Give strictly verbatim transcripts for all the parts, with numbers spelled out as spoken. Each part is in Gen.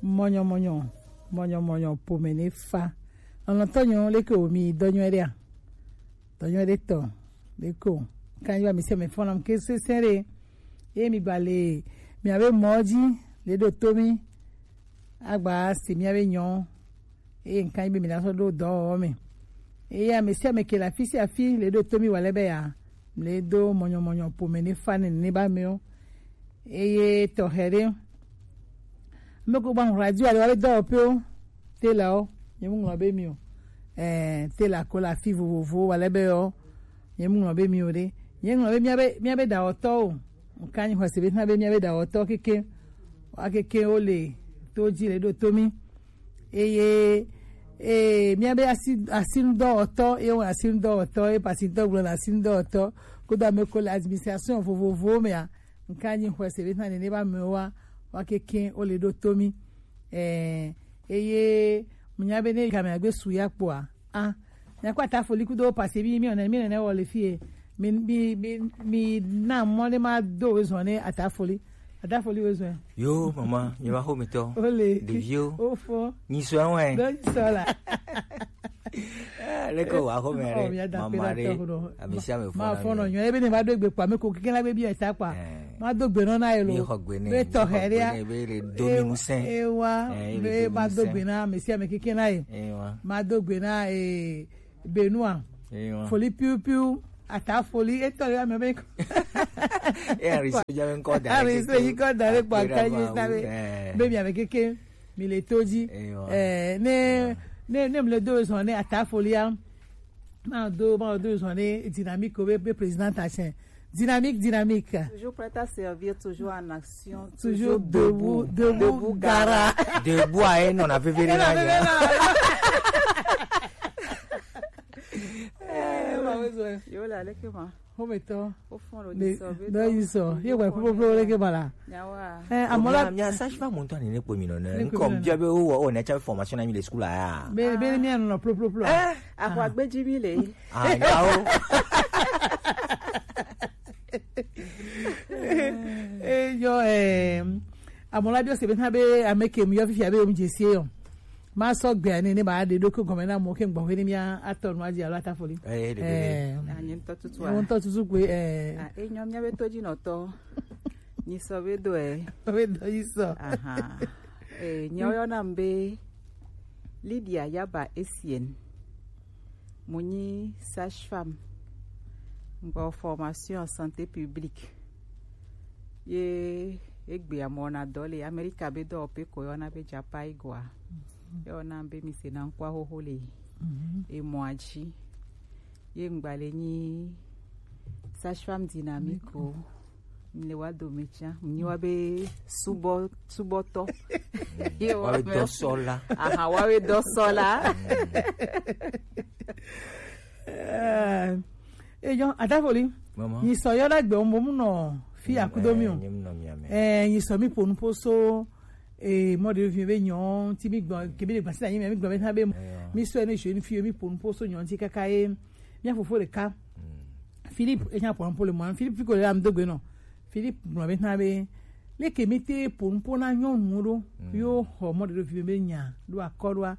Mɔnyɔmɔnyɔ, mɔnyɔmɔnyɔ pome ne fa. Lɔlɔ̃tɔnyo, leke wo mi dɔnyɔ ɖea? Dɔnyɔ ɖe tɔ, leke wo. Kan yi ba mi se me fɔna ke se se ɖe. Ye mi gba le mi abe mɔ dzi le ɖo to mi. Agba si mi abe nyɔ. Eye nkan yi be mi na sɔ ɖo dɔwɔwɔ me. Eye ame sia ame ke le afi sia afi le ɖo to mi wa le be ya, le do mɔnyɔmɔnyɔ pome ne fa ne ne ba mewo. Eye tɔxɛ ɖe, me ko gba radio ale wa be dɔwɔƒewo, telawo, nye mu ŋlɔ be mi o. Eh, tela ko le afi vovovo wa le be yo, nye mu ŋlɔ be mi o ɖe. Nye ŋlɔ be mi abe, mi abe dawɔtɔ o. Nkan yi xɔse be na be mi abe dawɔtɔ keke, wa keke wo le to dzi le ɖo to mi. Eye, eh, míabe asi, asinudɔwɔtɔ, ye wɔ asinudɔwɔtɔ, ye pasitɔ gblɔ le asinudɔwɔtɔ, kudo ame ko le administration vovovowo mea, nka nyi xɔe se be na nene ba mewoa, wa keke wo le ɖo to mi. Eh, eye, mnya be ne game agbe su ya kpoa, ah, Miakpɔ Atafoli kudo pase mi, mi nɔ ne, mi nɔ ne wɔ le fie. Mi, mi, mi, mi na mɔ ne ma do wezɔn ne Atafoli. Atafoli wezɔn. Yo, mama, mi ma xo mi tɔ. Ole. Ɖeviwo. Ofo. Nyi sɔ wɛ. Do nyi sɔ la. Ah, leke wa xo mi. Oh, re. Mi ada Mama pe re. Da tɔ do. Ami si ame fɔ Ma na fɔ nɔ mi. Nyɔ, ebe ne ma do egbe kpa, me ko keke la be bi eta kpa. Eh. Ma do gbe nɔ na ye lo. Mi xɔ gbe ne, Be mi tɔ xɔ xe gbe ɖea. Ne, be le do mi ŋusẽ. Ewa, Eh, be be le do ma mi do ŋusẽ. Gbe na, me si ame keke na ye. Ewa. Ma do gbe na, eh, Benua. Ewa. Foli piu piu, Atafoli, etɔ le ame be. E ari so ja be ŋkɔ da. Ari so yi kɔ da le kpa ka yi sa be. Eh. Be mi ame keke, mi le to dzi. Ewa. Eh, ne, Ewa. Ne, ne mi le do zɔn ne Atafolia. Ma do, ma do zɔn ne dynamique be, be président ta chen. Dynamique, dynamique. Toujours prêt à servir, toujours en action, Toujours toujours debout, debout, debout, debout, gara. Gara. Debout à un, on a fait venir là. Eh, ma wezɔn. Yo la, leke ma. Xɔmetɔ. Au fond, le Ne, sɔ, be ne tɔ. Yi sɔ. Ye wa popoplo leke ma la. Nyawa. Eh, amola. Mia, mia sage-femme ŋutɔ ne ne kpɔ mi nɔ ne. Ne kpɔ mi nɔ ne. Ŋkɔ bia be wo, wo ne tsa formation na mi le school la ya. Be, be ne mia nɔ ploplo plo. Eh, akwa gbeji mi le. Ah, yawo. Eh, yo, eh, amola bi o se be na be ame ke mi yo fifi abe o mi je se yo. Ma sɔ gbea ne, ne ba de do ko gɔme na mo ke gbɔ he ne mia atɔ nu aji alo Atafoli. Eh, de, de, de. Eh. Ah, nye ŋutɔ tutu a. Nye ŋutɔ tutu kwe, eh. Ah, e nyɔ mia be to dzi nɔtɔ. Nyi sɔ be do e. Be do yi sɔ. Aha. Eh, nyawo yɔna m be Lydia Yaba Etienne. Mo nyi sage-femme. Ŋgbɔ formation en santé publique. Ye egbea mɔ na dɔ le Amerika be dɔwɔƒe ko yɔna be Japaigoa. Yɔna be mi se na ŋkua xoxo le. Mhm. Emɔa dzi. Ye ŋgba le nyi sage-femme dynamique o. Mi le wa do me tsã. Mi nyi wa be subɔ, subɔtɔ. Ye wa be dɔsɔla. Aha, wa be dɔsɔla. Eh, eyo, Atafoli. Mama. Nyi sɔ yɔ da gbe mo mu nɔ fi akudo mi o. Eh, nyi mu nɔ mi ame. Eh, nyi sɔ mi ponu poso. Eh, mɔ de vi be nyɔ, ti mi gbɔ, ke bi de gbasi na nyi mi gbɔ be na be. Eyo. Mi sɔ ne je ni fi mi ponu poso nyɔ ti kaka e. Mi fofo de ka. Mm. Philippe, e nya ponu po le mo. Philippe fi ko le am do gbe nɔ. Philippe gblɔ be na be, leke mi te ponu po na nyɔnu ɖo, Mm. yo xɔ mɔ de vi be nya, ɖo akɔ ɖoa.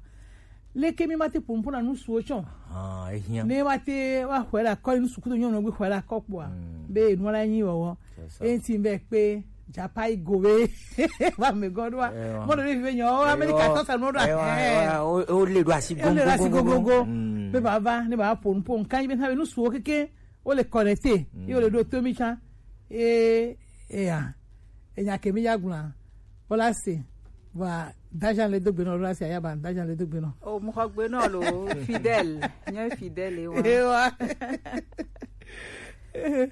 Leke mi ma te ponu po na nusuwo tsɔ. Ah, ehiã. Ne ma te wa xɔ ɖe akɔ nusu kudo nyɔnu gbe xɔ ɖe akɔ kpoa. Mm. Be nu la nyi wɔwɔ. C'est ça. Enti be kpe Japaigo be. Wa me gɔɖoa. Eh, wa. Mɔ de vi be nya, o Amerika tɔ sa nu ɖo. Eh, wa, eh. Wa, o, o le ɖo asi O le ɖo asi gogo, gogo, gogo. Mm. Be baba, ne ba ponu po, nka be na be nusuwo keke. Wo le connecté, Mm. ye wo le ɖo to mi tsã. E, eya. Enya ke mi ya gblɔa. Wola se. Va, dajan le do gbe nɔ, wola se aya ba, dajan le do gbe nɔ. O, mo xɔ gbe nɔ lo, fidèle. Nye fidèle wa. E wa.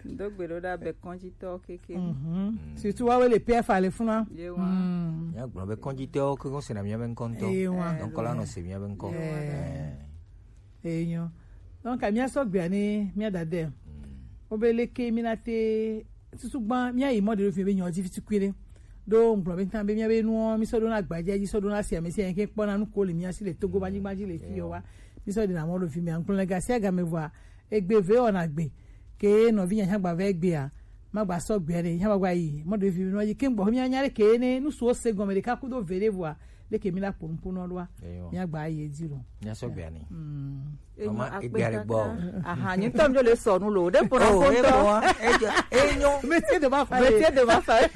Do gbe ɖo ɖa be kɔnjitɔ keke. Mhm. Mm. Surtout wa wo le P F A le funa. Ye wa. Mm. Mia gblɔ be kɔnjitɔwo ke ko se na mia be ŋkɔ ŋutɔ. Ye wa. Donc, la nɔ se mia be ŋkɔ. Ye wa. Eh. Enyo. Donc, mia sɔ gbea ne mia da de. Mm. Wo be leke mi na te susu gba mia yi mɔ de fi be nyɔ dzi fi tukui ɖe. Do ŋgblɔ be tan be mia be nuwo mi sɔ ɖo na gbadza dzi sɔ ɖo na sia me sia ke kpɔ na nu ko le mia si le Togo ba nyigba dzi le fi yo wa. Mi sɔ de na mɔ ɖo fi mia ŋkplɔ le gasia game vɔa egbe ve wɔna gbe ke nɔvi nya hã gba va egbea ma gba sɔ gbea ɖe hã gba yi mɔ de fi mi nɔ yi ke ŋgbɔ mia nya ɖe ke ne nu suwo se gɔme ɖeka kudo ve ɖe vɔa Eke mi la kponu kponu ɖoa. Eyo. Mi agba ye di lo. Nya sɔ gbea ni. Mm. Mama, akpe egbea le gbɔ. Aha, nyi tɔm jo le sɔ nu lo. De pona Oh, ponto. Egbɔ, ejo, enyo. Métier de ma famille. Métier de ma famille.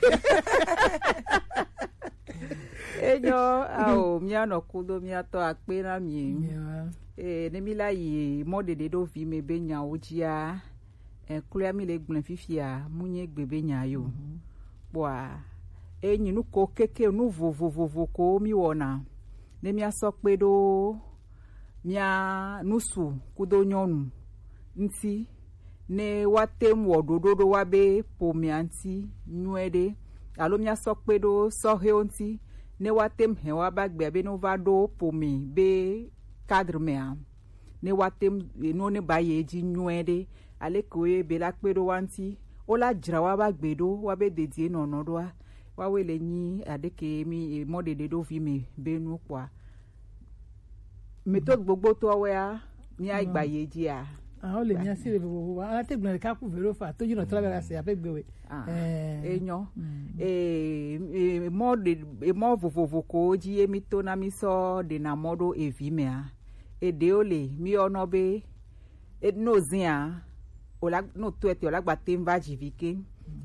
Enyo, ao, mia nɔ kudo, mia tɔ akpe na mi. Yeah. Eh, ne mi la yi mɔ ɖeɖe ɖo vi me be nyawo dzia. Eh, kloya mi le gblẽ fifia, mu nye gbe be nya yo. Mhm. Kpɔa, enyi nu ko keke, nu vovovovo ko mi wɔna. Ne mia sɔ kpe ɖo mia nusu kudo nyɔnu ŋti, ne woate ŋu wɔ ɖoɖo ɖo wa be ƒomea ŋti nyuie ɖe, alo mia sɔ kpe ɖo sɔhɛwo ŋti, ne woate ŋu hɛn wa ba gbea be ne wova ɖo ƒome be cadre mea, ne woate ŋu, no ne ba ye dzi nyuie ɖe, aleke wo ye be la kpe ɖo wa ŋti, wo la dzra wa ba gbe ɖo, wa be dedie nɔnɔ ɖoa, wa we le nyi aɖeke mi, eh, mɔ ɖeɖe ɖo vi me be nu kpɔa. Méthode gbogbotɔwoa, mia gba ye dzia? Ah, wo le mia si le vovovo. Ala te gblẽ ɖeka ku velo fa, to dzi nɔ tra bela se abe gbewe. Ah, Eh. Enyo. Mm. Eh, eh, mɔ ɖe, eh, mɔ vovovo ko dzi ye mi to na mi sɔ ɖe na mɔ ɖo evi mea. Eɖewo le mi yɔnɔ be, e, no zia, o la, no to ete, o la gba te va dzi vi ke.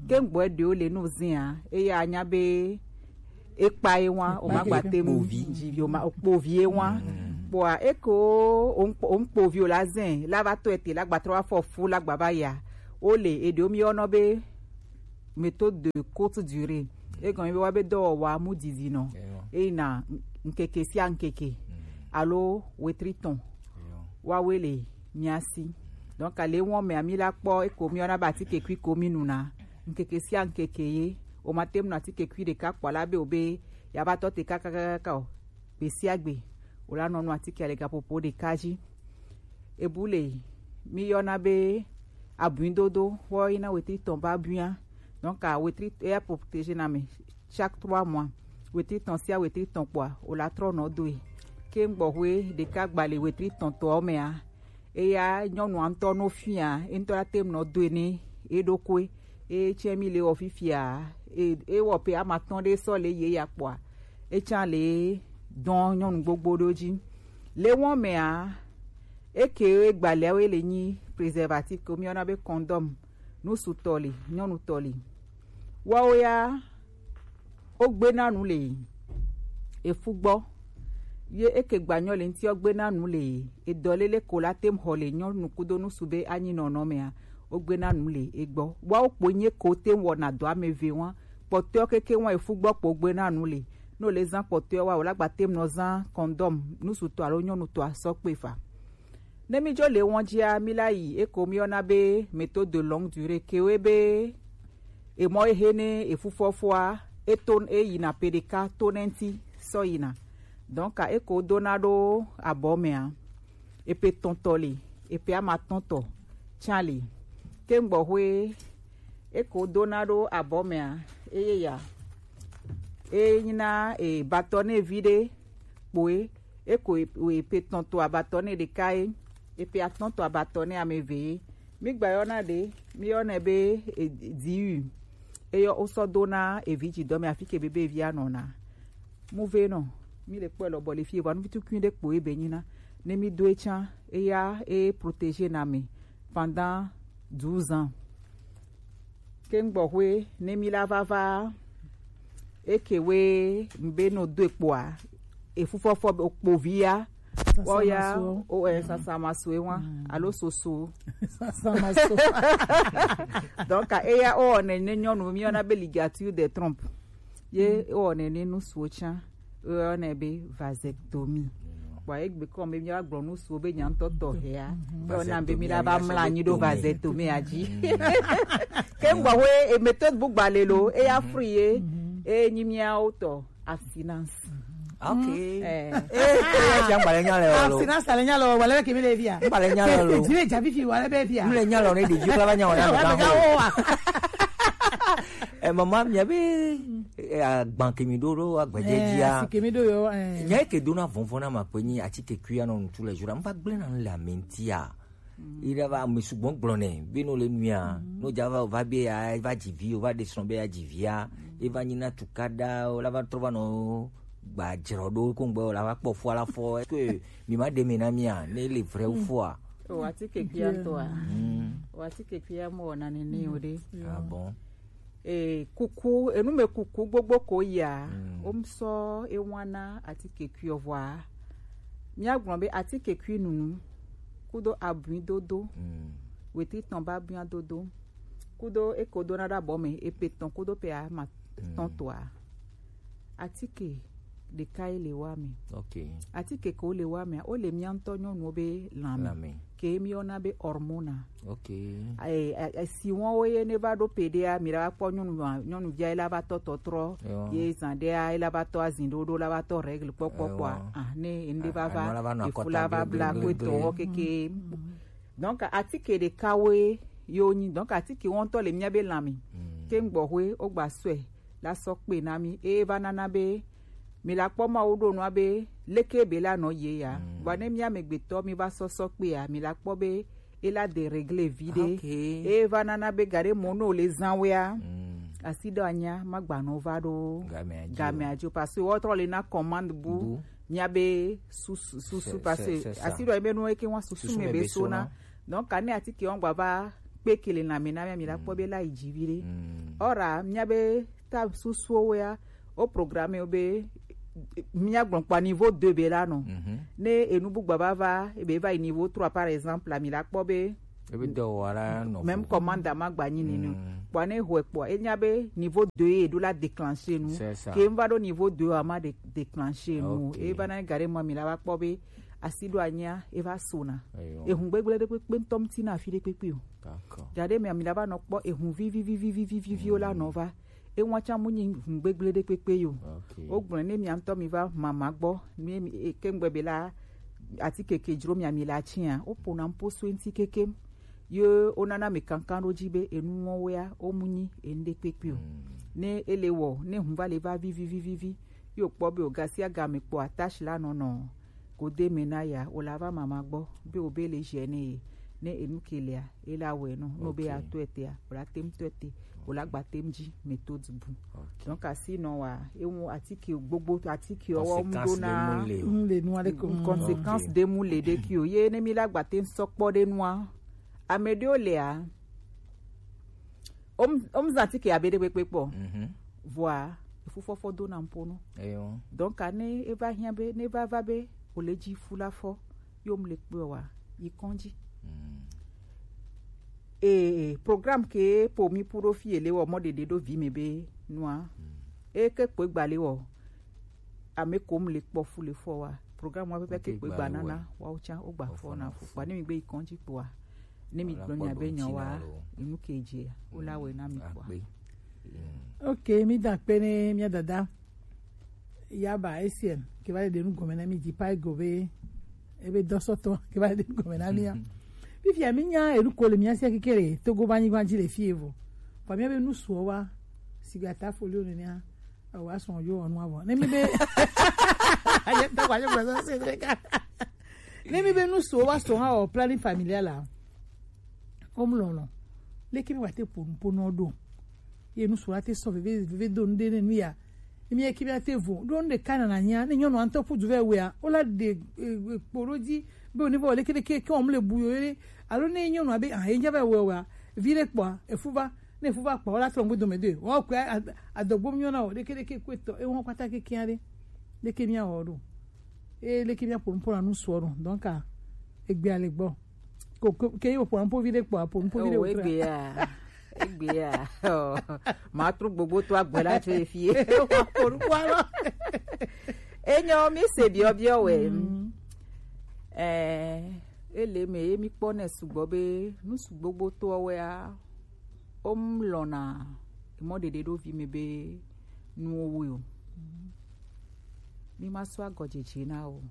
Ke ŋgbɔ eɖewo le no zia, eya nya be ekpa ye wa, o ma gba te mu dzi vi, o ma, o kpo vi ye wa. Kpɔa, eko, o ŋkpo, o ŋkpo vi o la zin, la va to ete, la gba trɔ afɔ fu, la gba va ya. O le, eɖewo mi yɔnɔ be méthode de courte durée. Egɔme be wa be dɔwɔwɔa mu didi nɔ. Eyi na ŋkeke sia ŋkeke. Alo wetri tɔn. Wa we le mia si. Donc, ale wɔn mea mi la kpɔ, eko mi yɔna be atike kui ko mi nuna. Ŋkeke sia ŋkeke ye. O ma te mu na atike kui ɖeka kpɔ la be o be ya va tɔ te kakakaka o. Gbe sia gbe, o la nɔ nu atike le gaƒoƒo ɖeka dzi. Ebu le mi yɔna be abuidodo, wɔ yina wetri tɔn va buia. Donc, a wetri, eya protégé na me chaque trois mois. Wetri tɔn sia wetri tɔn kpɔa, o la trɔ nɔ doe. Ke ŋgbɔxwe ɖeka gba le wetri tɔn tɔ mea, eya nyɔnua ŋutɔ no fia, e ŋutɔ la te ŋu nɔ doe ne eɖokui. Etsɛ mi le wɔ fifia, e, ewɔ pe ama tɔn ɖe sɔ le ye ya kpɔa, etsã le dɔn nyɔnu gbogbo ɖo dzi. Le wɔn mea, eke gbalea we le nyi préservatif ko mi yɔna be condom, nusutɔ le, nyɔnutɔ le. Wɔwo ya, wo gbe na nu le efu gbɔ. Ye eke gbanyɔ le ŋti, wo gbe na nu le edɔ lele ko la te ŋu xɔ le nyɔnu kudo nusu be anyi nɔnɔ mea, wo gbe na nu le egbɔ. Wɔwo kpo nye ko te ŋu wɔna dɔ ame eve wa. Kpɔtɔewo keke wa efu gbɔ kpo gbe na nu le. No le zan kpɔtɔewo wa, o la gba te ŋu nɔ zan condom nusutɔ alo nyɔnutɔ asɔ kpe fa. Ne mi dzo le wɔn dzia, mi la yi eko mi yɔna be méthode de longue durée, ke we be emɔ ehe ne efufɔfɔa, eto eyina pe ɖeka to ne ŋti sɔ yina. Donc, eko dona ɖo abɔ mea, epe tɔntɔ le, epe ama tɔntɔ tsã le. Ke ŋgbɔxwe eko dona ɖo abɔ mea, eye ya, enyina e batɔ ne vi ɖe kpoe, eko e, e pe tɔn to abatɔ ne ɖeka ye, e pe atɔn to abatɔ ne ame eve ye. Mi gba yɔna ɖe, mi yɔnɛ be, e, diu. Eyɔ wosɔ do na evi dzi dɔ me afi ke be be evi anɔna. Mu ve nɔ, mi le kpɔe lɔ bɔ le fi, vɔ nu vitukui ɖe kpo ebe nyina. Ne mi do etsã, eya e protégé na me pendant douze ans. Ke ŋgbɔxwe ne mi la vava, eke we ŋbe no do ekpoa, efufɔfɔ be okpovi ya, wɔ ya, o, eh, sasamaso ewa, alo soso. Sasamaso. Donc, eya o ne, ne nyɔnu mi yɔna be ligature de trompe. Ye o ne, ne nusuo tsã, o ne be vasectomie. Bon, egbe kɔ me mi agblɔ nusuo be nya ŋutɔ tɔ hea. Be o na be mi la ba mla anyi ɖo vasectomie a dzi. Ke ŋgbɔ we e méthode bu gba le lo, e ya fri ye, e nyi miawo tɔ abstinence. Ok. Eh. Eh, eh, ya ŋgba le nya le lo. Abstinence le nya lo, wale ke mi le via. Ŋgba le nya le lo. Ke se dzi le dza fifi wale be via. Mi le nya lo ne ɖevi kla va nya wala me ga wo. Eh, mama, mia be, eh, agban ke mi ɖo ɖo agbadze dzia. Si ke mi ɖo yo, eh. Nya ke do na vɔnvɔn na ma kpe nyi atike kui anɔ ŋutu le jura. Mva gblẽ na le amentia. Ira va ame sugbɔ gblɔ nɛ be no le nuia. No dza va, va be ya, va dzi vi, o va ɖe srɔ̃ be ya dzi via. E va nyi na tukaɖa, o la va trɔ va nɔ Gba jrɔ ɖo ko ŋgbe o la va kpɔ fua la fɔ. Est-ce que mi ma ɖe mi na mia ne le vrai ou faux a? O atike kuia ŋutɔa. Mm. O atike kuia mo na nene o ɖe. Ah bon. E kuku, enu me kuku gbogbo ko ya. Mm. O mi sɔ e wana atike kuiɔ vɔa. Mia gblɔ be atike kui nunu. Kudo abui dodo. Mm. Wetri tɔn ba abui dodo. Kudo eko do na ɖo abɔ me, epe tɔn kudo pe a ma tɔn toa. Atike ɖeka ye le wa me. Ok. Atike ko le wa me, o le mia ŋutɔ nyɔnuwo be lanme. Lanme. Ke mi yɔna be hormone. Ok. E, e, e, si wɔn wo ye ne va ɖo pe ɖea, mi la va kpɔ nyɔnu, nyɔnuvia ye la va tɔ tɔtrɔ. Ewa. Ye zan ɖea, ye la va tɔ azin ɖoɖo, la va tɔ règle kpɔkpɔ kpɔa. Ewa. Ah, ne ende va va, anɔ la va nɔ efu akɔta la va bla gble, gble, ko gble. Tɔ keke. Mm. Donc, atike ɖeka woe yo nyi. Donc, atike wo ŋutɔ le mia be lanme. Mm. Ke ŋgbɔ hoe, o gba sɔe la sɔ kpe na mi. E va nana be, mi la kpɔ Mawu ɖo nua be, leke be la nɔ ye ya. Mm. Vɔ ne mia megbetɔ mi va sɔ sɔ kpe ya, mi la kpɔ be, e la de règle vi ɖe. Ok. E va nana be gaɖe mo no le zan wea. Mm. Asi ɖo anya, ma gba nɔ va ɖo. Gamea dzi o. Gamea dzi o, parce que wo trɔ le na commande bu. Bu. Mia be susu, susu, c'est, parce que c'est, c'est ça. Asi ɖo ebe nu eke wa susu me be sona. Donc, kane atike wɔn gba va kpe kele na mi na mia, mi la kpɔ be la yi dzi vi ɖe. Mm. Ora, mia be ta susu wo ya, o programme wo be, mia gblɔ kpɔ niveau deux be la nɔ. Mhm. Ne enu bu gba va va, ebe va yi niveau trois, par exemple, la mi la kpɔ be ebe dɔ wa la nɔ même vo. Commande ma gba nyi nini. Mm. Kpɔ ne hoe kpɔ, e nya be niveau deux ye ɖo la déclencher nu. C'est ça. Ke n va ɖo niveau deux a ma dé-, déclencher nu. Ok. E va na gaɖe mo mi la va kpɔ be asi ɖo anya, e va sona. Eyo. Ehun gbegble ɖe kpekpe ŋutɔ ŋuti na afi ɖe kpekpe o. D'accord. Gaɖe mi, mi la va nɔ kpɔ ehun vivi, vivi, vivi, vivi, vivi wo la nɔ va. Ewa tsa mu nyi hun gbegble ɖe kpekpe yo. Ok. O gblɔ ne mia ŋutɔ mi va mama gbɔ, mi, mi, e, ke ŋgbe be la, atike ke dzro mia mi la tsia, o pona mpo so ŋuti kekem. Ye o nana mi kankan ɖo dzi be enu wo wea, o mu nyi enu ɖe kpekpe o. Mm. Ne ele wɔ, ne hun va le va vivi, vivi, vivi, yo kpɔ be o gasi aga me kpɔ attache la nɔnɔ. Gode me na ya, o la va mama gbɔ, be o be le gêné ye, ne enu ke lea, e la wɛ nɔ, no be a tɔ ete a, o la tem tɔ ete, o la gba tem dzi méthode bu. Ok. Donc, asi nɔ wa, e ŋu atike gbogbo, atike ɔwɔ mu do na. Conséquence de mu le. Mm, le nu ale ko. Mm, conséquence de mu le ɖe ki o. Ye ne mi la gba tem sɔ kpɔ ɖe nua, ame ɖewo lea, Om, om zã atike abe ɖe kpekpe kpɔ. Mhm. Vɔa, efu fɔfɔ do na ŋpo no. Eyo. Donc, ne eva hiã be, ne eva va be, o le dzi fu la fɔ, yo mu le kpe wa, yi kɔndzi. Mm. E, programme ke po mi pu ɖo fi ele wɔ mɔ ɖeɖe ɖo vi me be nua. Mm. E ke kpe gba le wɔ. Ame kom le kpɔ fu le fɔ wa. Programme wa pɛpɛ ke kpe gba nana wa o tsa o gba fɔ na fu. Kpa ne mi gbe yi kɔndzi kpoa. Ne mi gblɔ nya be nya wa, enu ke dze o la wɛ na mi kpoa. Ok, mi da kpe ne mia dada. Yaba S M ke va le ɖe nu gɔme na mi di pa ego be ebe dɔsɔtɔ ke va le ɖe nu gɔme na mia. Fifia mi nya enu ko le mia sia kekere Togo ba nyigba dzi le fi evo. Kpa mia be nu suɔ wa sigata folio nenea. Awa sɔn yo ɔnu avɔ. Ne mi be aye ta kwa je kwa se de ka. Ne mi be nu so wa so ha o planning familial la. O mu lɔlɔ. Leke mi wa te ponu ponu do. Ye nu so la te sɔ veve veve do nde ne nu ya. Ne mi ye ki mi a te vo. Do nde kana na nya. Ne nyɔnu antɔ pu du ve we a. O la de, eh, eh, kporo di. Be o ni vo leke leke ke o mu le bu yo ye. Alo ne nyɔnu abe, ah, e nya ve we wa. Vi le kpɔ a. Efu va. Ne fu va kpa wo la trɔ ŋgbe dome de. Wo kpe a-, adɔgbo nyɔ na wo ɖeke ɖeke kpe tɔ. E wɔn kpata kekeŋ ɖe. Ɖeke mia wɔ ɖo. E ɖeke mia ƒo nuƒo na nu suɔ ɖo. Donc, a, egbe ale gbɔ. Ko, ko, ke yo ƒo nuƒo vi ɖe kpɔ, ƒo nuƒo vi ɖe. Oh, egbe ya. Egbe ya. Oh, ma trɔ gbogbo to agbe la tso efie. Wa ƒo nuƒo alɔ. Enyo mi se biɔ biɔ wɛ. Mm. Eh, ele me ye mi kpɔ ne sugbɔ be nu sugbogbo to wɛ a. Wo mu lɔna mɔ ɖeɖe ɖo vi me be nuwo wu o. Mi ma sɔ agɔdzedze na o.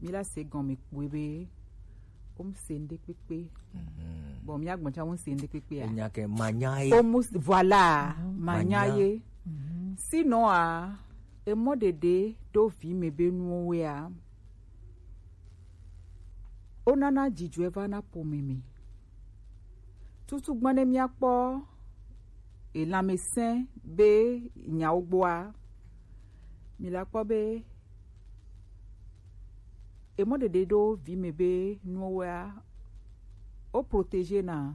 Mi la se gɔme kpɔe be wo mu se ŋɖe kpekpe. Mhm. Bon, mi agbɔn tsa wo mu se ŋɖe kpekpe a. Enya ke manya ye. Wo mu s-, voilà, manya ye. Mhm. Sinon a, emɔ ɖeɖe ɖo vi me be nuwo wea, wonana dzidzɔe vana ƒome me. Tutugbã ne míakpɔ elanmesẽ be nyawo gbɔa, Mi la kpɔ be emɔ ɖeɖe ɖo vi me be nuwo wea, wo protéger na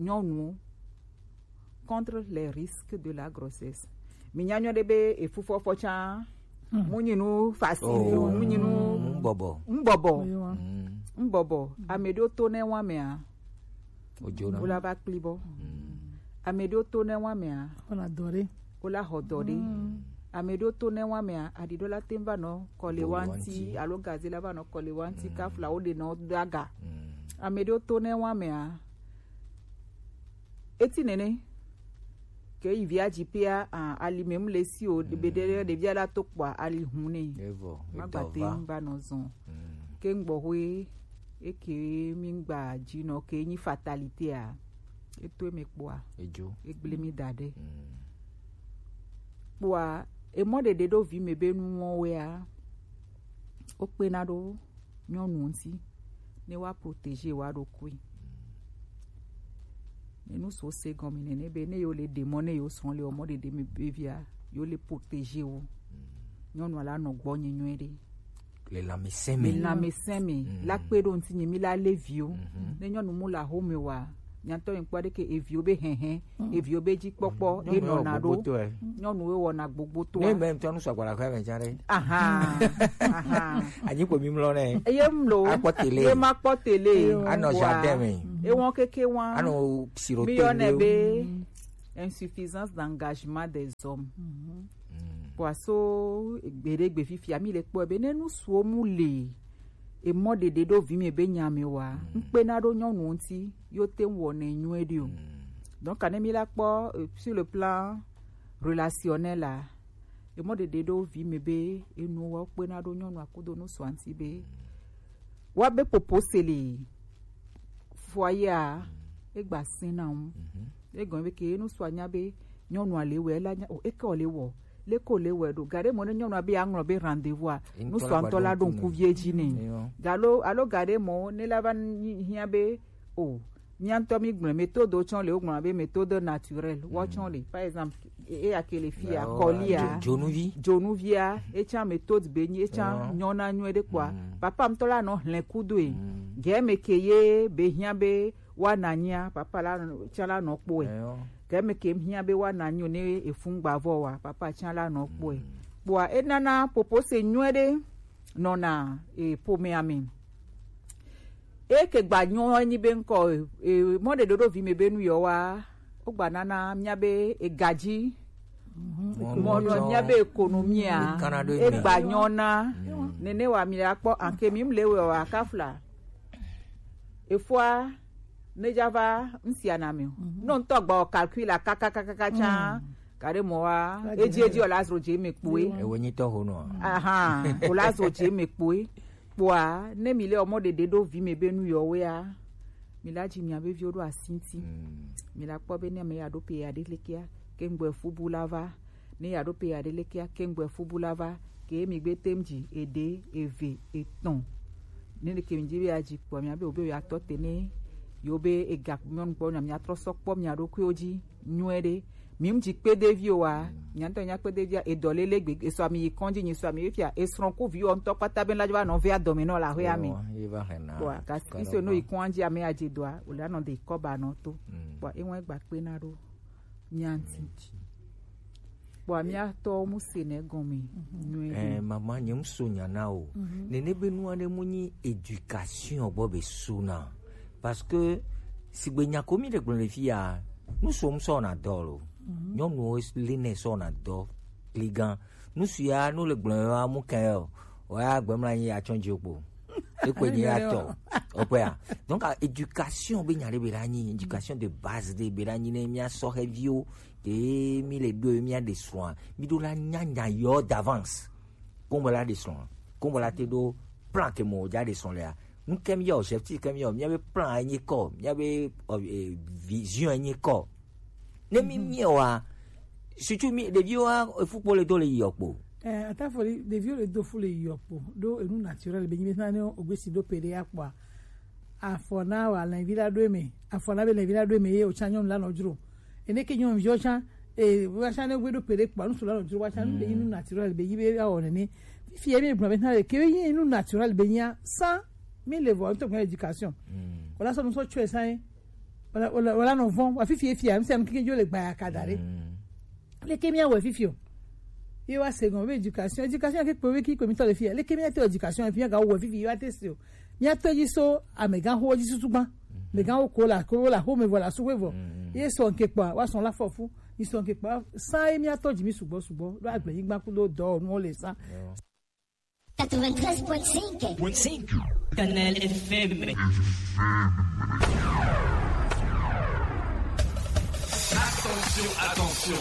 nyɔnuwo contre les risques de la grossesse. Mi nya nyɔ ɖe be efufɔfɔ tsã, mu nyi nu facile o, mu nyi nu bɔbɔ. Mu bɔbɔ. Mu bɔbɔ. Ame ɖewo to ne wa mea, Ojona. Wo la va kpli bɔ. Ame ɖewo to ne wa mea, Wona dɔ ɖe. Wo la xɔ dɔ ɖe. Ame ɖewo to ne wa mea, aɖiɖɔ la te va nɔ kɔle wa ŋti, alo gaze la va nɔ kɔle wa ŋti, kafla wo ɖe nɔ daga. Ame ɖewo to ne wa mea, eti nene ke yi via dzi pia, ah, ali me mu le si o, be ɖe ɖevia la to kpɔa ali hun ne. Evɔ, ma gba te va nɔ zɔn. Ke ŋgbɔ hoe eke mi ŋgba dzi nɔ ke nyi fatalité a, eto eme kpɔa, edzo, egble mi da ɖe. Kpɔa, emɔ ɖeɖe ɖo vi me be nuwo wea, wo kpena ɖo nyɔnu ŋti ne wa protéger wa ɖokui. Ne nu so se gɔme nene be ne yo le ɖe mɔ ne yo srɔ̃ le emɔ ɖeɖe me be via, yo le protéger wo. Nyɔnua la nɔ gbɔ nye nyuie ɖe. Le lãmesẽ me. Le lãmesẽ me. La kpe ɖo ŋti nye mi la le viwo. Ne nyɔnu mu la home wa, nyatɔ mi kpɔ ɖe ke eviwo be hɛhɛ, eviwo be dzi kpɔkpɔ, e nɔna ɖo. Nyɔnuwo wɔna gbogbo to. Ne me ŋutɔ nu sɔgbɔ la kɔ me dza ɖe. Aha. Aha. Anyi ko mi mlɔ ne. Eye mlo. Akpɔ télé. Ye ma kpɔ télé. Anɔ jardin me. Ewɔn keke wa. Anɔ siro. Mi yɔ ne be insuffisance d'engagement des hommes. Kpɔa so gbeɖegbe fifia mi le kpɔe be ne nu suwo mu le emɔ ɖeɖe ɖo vi me be nya me wa, ŋkpena ɖo nyɔnu ŋti, yo te ŋu wɔnɛ nyuie ɖi o. Donc ne mi la kpɔ, euh, sur le plan relationnel la, emɔ ɖeɖe ɖo vi me be enu wa kpena ɖo nyɔnu akudo nu sua ŋti be wa be popo se le foyer a, egba sena ŋu. Egɔme be ke nu sua nya be nyɔnua le wɛ la nya o, eke o le wɔ, leke o le wɛ ɖo. Gaɖe mɔ ne nyɔnua be aŋlɔ be rendez-vous a, nu sua ŋtɔ la ɖo ŋku vie dzi ne. Galo alo gaɖe mɔ ne la va hiã be o, mía ŋtɔ mi gblɔ méthode tsɔ le, wo gblɔ be méthode naturelle, wo tsɔ le. Par exemple, e- eya ke le fia, kɔlia, dzonuvi. Dzonuvia, etsã méthode be nyi, etsã nyɔna nyuie ɖe kpɔa. Papa ŋtɔ la nɔ hlẽ kudoe. Gɛ me ke ye be hiã be wa na nyia, papa la tsã la nɔ kpɔe. Gɛ me ke hiã be wa na nyio ne efun gbavɔ wa, papa tsã la nɔ kpɔe. Kpɔa enana popo se nyuie ɖe nɔna e pomea me. Eke gba nyɔ enyi be ŋkɔ, e, mɔ ɖe ɖoɖo vi me be nu yɔ wa, wo gba nana mía be egaji, mɔ nɔ mía be ekonomia, egba nyɔ na, nene wa mi la kpɔ, anke mi mle we wa kafla. Efoa, ne dza va ŋsia na mi o. Nɔ ŋtɔ gba o calcul la kakakakaka tsã, gaɖe mɔ wa, edzi edzi o la zro dze me kpoe. Ewe nyi tɔ ho nɔ. Aha, o la zro dze me kpoe. Kpɔa, ne mi le ɔmɔ ɖeɖe ɖo vi me be nu yɔ wea, mi la dzi mia be viwo ɖo asi ŋti. Mi la kpɔ be ne ame ya ɖo pe ya ɖe lekea, ke ŋgbɔ efu bu la va. Ne ya ɖo pe ya ɖe lekea, ke ŋgbɔ efu bu la va. Ke mi gbe tem dzi eɖe, eve, etɔn. Ne ɖe ke mi dzi be ya dzi kpɔ mia be o be ya tɔ te ne yo be ega nyɔnu kpɔ na mia trɔ sɔ kpɔ mia ɖokuiwo dzi nyuie ɖe. Mi ŋdzi kpedeviwo wa, mia ŋtɔ nya kpedevia, edɔ lele gbe, esɔ ami yi kɔndzi, nyi sɔ ami yi fia, esrɔ̃ ku viwo ŋtɔ kpata be la va nɔ vea dɔme nɔ la hwea mi. Kpɔa, kasi iso no yi kɔndzi ame ya dze dɔa, o la nɔ de kɔba nɔ to. Kpɔa, eŋu egba kpe na ɖo mia ŋti. Kpɔa, mia tɔ mu se ne gɔme nyuie ɖe. Eh, mama, nye ŋso nya na o. Nene be nua ɖe mu nyi éducation gbɔ be suna. Parce que sigbe nya ko mi ɖe gblɔ le fi ya, nu so mu sɔ na dɔ lo. Nyɔnuwo li ne sɔ na dɔ kligan. Nu si ya nu le gblɔ wa mu kan yo. O ya gbe mla nyi ya tsɔ dzi kpo. Ekpe nyi ya tɔ. Ope ya. Donc, ah, éducation be nya ɖe be la nyi, éducation de base ɖe be la nyi ne mia sɔ xeviwo ke mi le do mia de soin. Mi do la nya nya yo d'avance. Kombo la de srɔ̃, kombo la te ɖo plan ke mo ja de srɔ̃ lea. Nu ke mi yɔ, objectif ke mi yɔ, mia be plan enyi kɔ, mia be, ɔ, eh, vision enyi kɔ. Ne mi mi wa, surtout mi ɖeviwo wa, efu kpo le do le yɔ kpo. Eh, atafo ɖeviwo le do fu le yɔ kpo. Ɖo enu naturel be nyi be na ne o gbesi ɖo pe ɖe ya kpɔa. Afɔ na wa lɛnvi la ɖo eme. Afɔ na be lɛnvi la ɖo eme ye o tsã nyɔnu la nɔ dzro. Ene ke nyɔnuviwo tsã, E wa sa ne we do pere kpa nu sula no juro wa sa nu de inu naturel be yi be ya o ne. Fi e mi gba be na le ke yi inu naturel be ya sa mi le vo to education. Wala so nu so chwe sa e. Wala wala wala no von wa fifi e fi am se am ke jo le gba ya ka dare. Le ke mi a we fifi o. Ye wa second be education, education ke pe we ki ko mi to le fi. Le ke mi a to education fi ya ga we fifi ye wa te si o. Mía tɔ́ jí só amɛgãxowo jí susu gbã. Mɛgãxo ko la ko la xo mɛ vɔ la su xwé vɔ. Ye sɔ ŋke kpɔa wa sɔ la fɔ fu. Yi sɔ ŋke kpɔa sa ye mía tɔ́ jí mi sugbɔ sugbɔ ɖo agble nyigba kudo dɔ nuwo le sa. Quatre-vingt-treize point cinq. Canal F M. Attention, attention.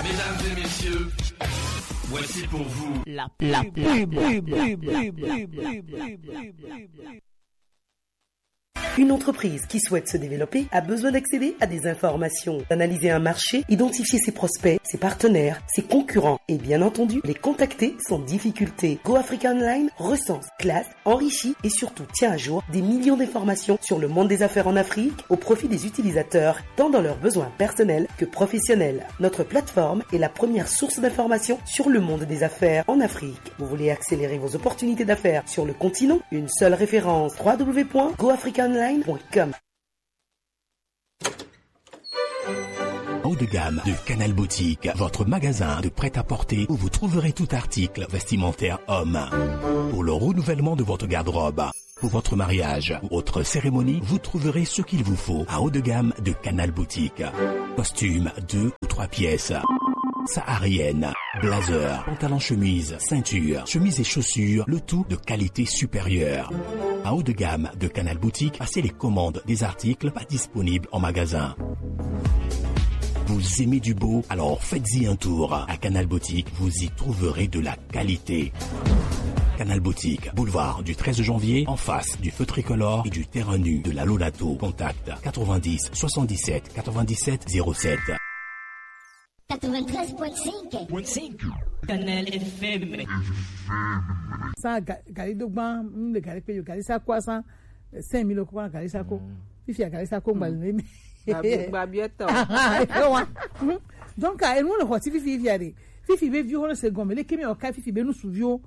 Mesdames et messieurs, voici pour vous la, la pub. Une entreprise qui souhaite se développer a besoin d'accéder à des informations, d'analyser un marché, identifier ses prospects, ses partenaires, ses concurrents et bien entendu les contacter sans difficulté. Go Africa Online recense, classe, enrichit et surtout tient à jour des millions d'informations sur le monde des affaires en Afrique au profit des utilisateurs, tant dans leurs besoins personnels que professionnels. Notre plateforme est la première source d'information sur le monde des affaires en Afrique. Vous voulez accélérer vos opportunités d'affaires sur le continent ? Une seule référence, trois w point go africa online point com. Haut de gamme de Canal Boutique, votre magasin de prêt-à-porter où vous trouverez tout article vestimentaire homme. Pour le renouvellement de votre garde-robe, pour votre mariage ou autre cérémonie, vous trouverez ce qu'il vous faut à haut de gamme de Canal Boutique. Costume deux ou trois pièces, saharienne, blazer, pantalon chemise, ceinture, chemise et chaussures, le tout de qualité supérieure. À haut de gamme de Canal Boutique, passez les commandes des articles pas disponibles en magasin. Vous aimez du beau ? Alors faites-y un tour. À Canal Boutique, vous y trouverez de la qualité. Canal Boutique, boulevard du treize janvier, en face du feu tricolore et du terrain nu de la Lolato. Contact quatre-vingt-dix soixante-dix-sept quatre-vingt-dix-sept zéro sept. Quatre-vingt-treize point cinq. Canal F M. Sa ga- gari do gban, mm, le gari pe yo gari sa kwa sa, eh, cinq mille ko gari sa ko. Fifi a gari sa ko ngba le mi. Gbabi- gbabi eto. Ewa. Mm. Donc, ah, enu le hoti fifi fifi a de. Fifi be vi ho le se gome, le kemi o kai fifi be nu su vi o.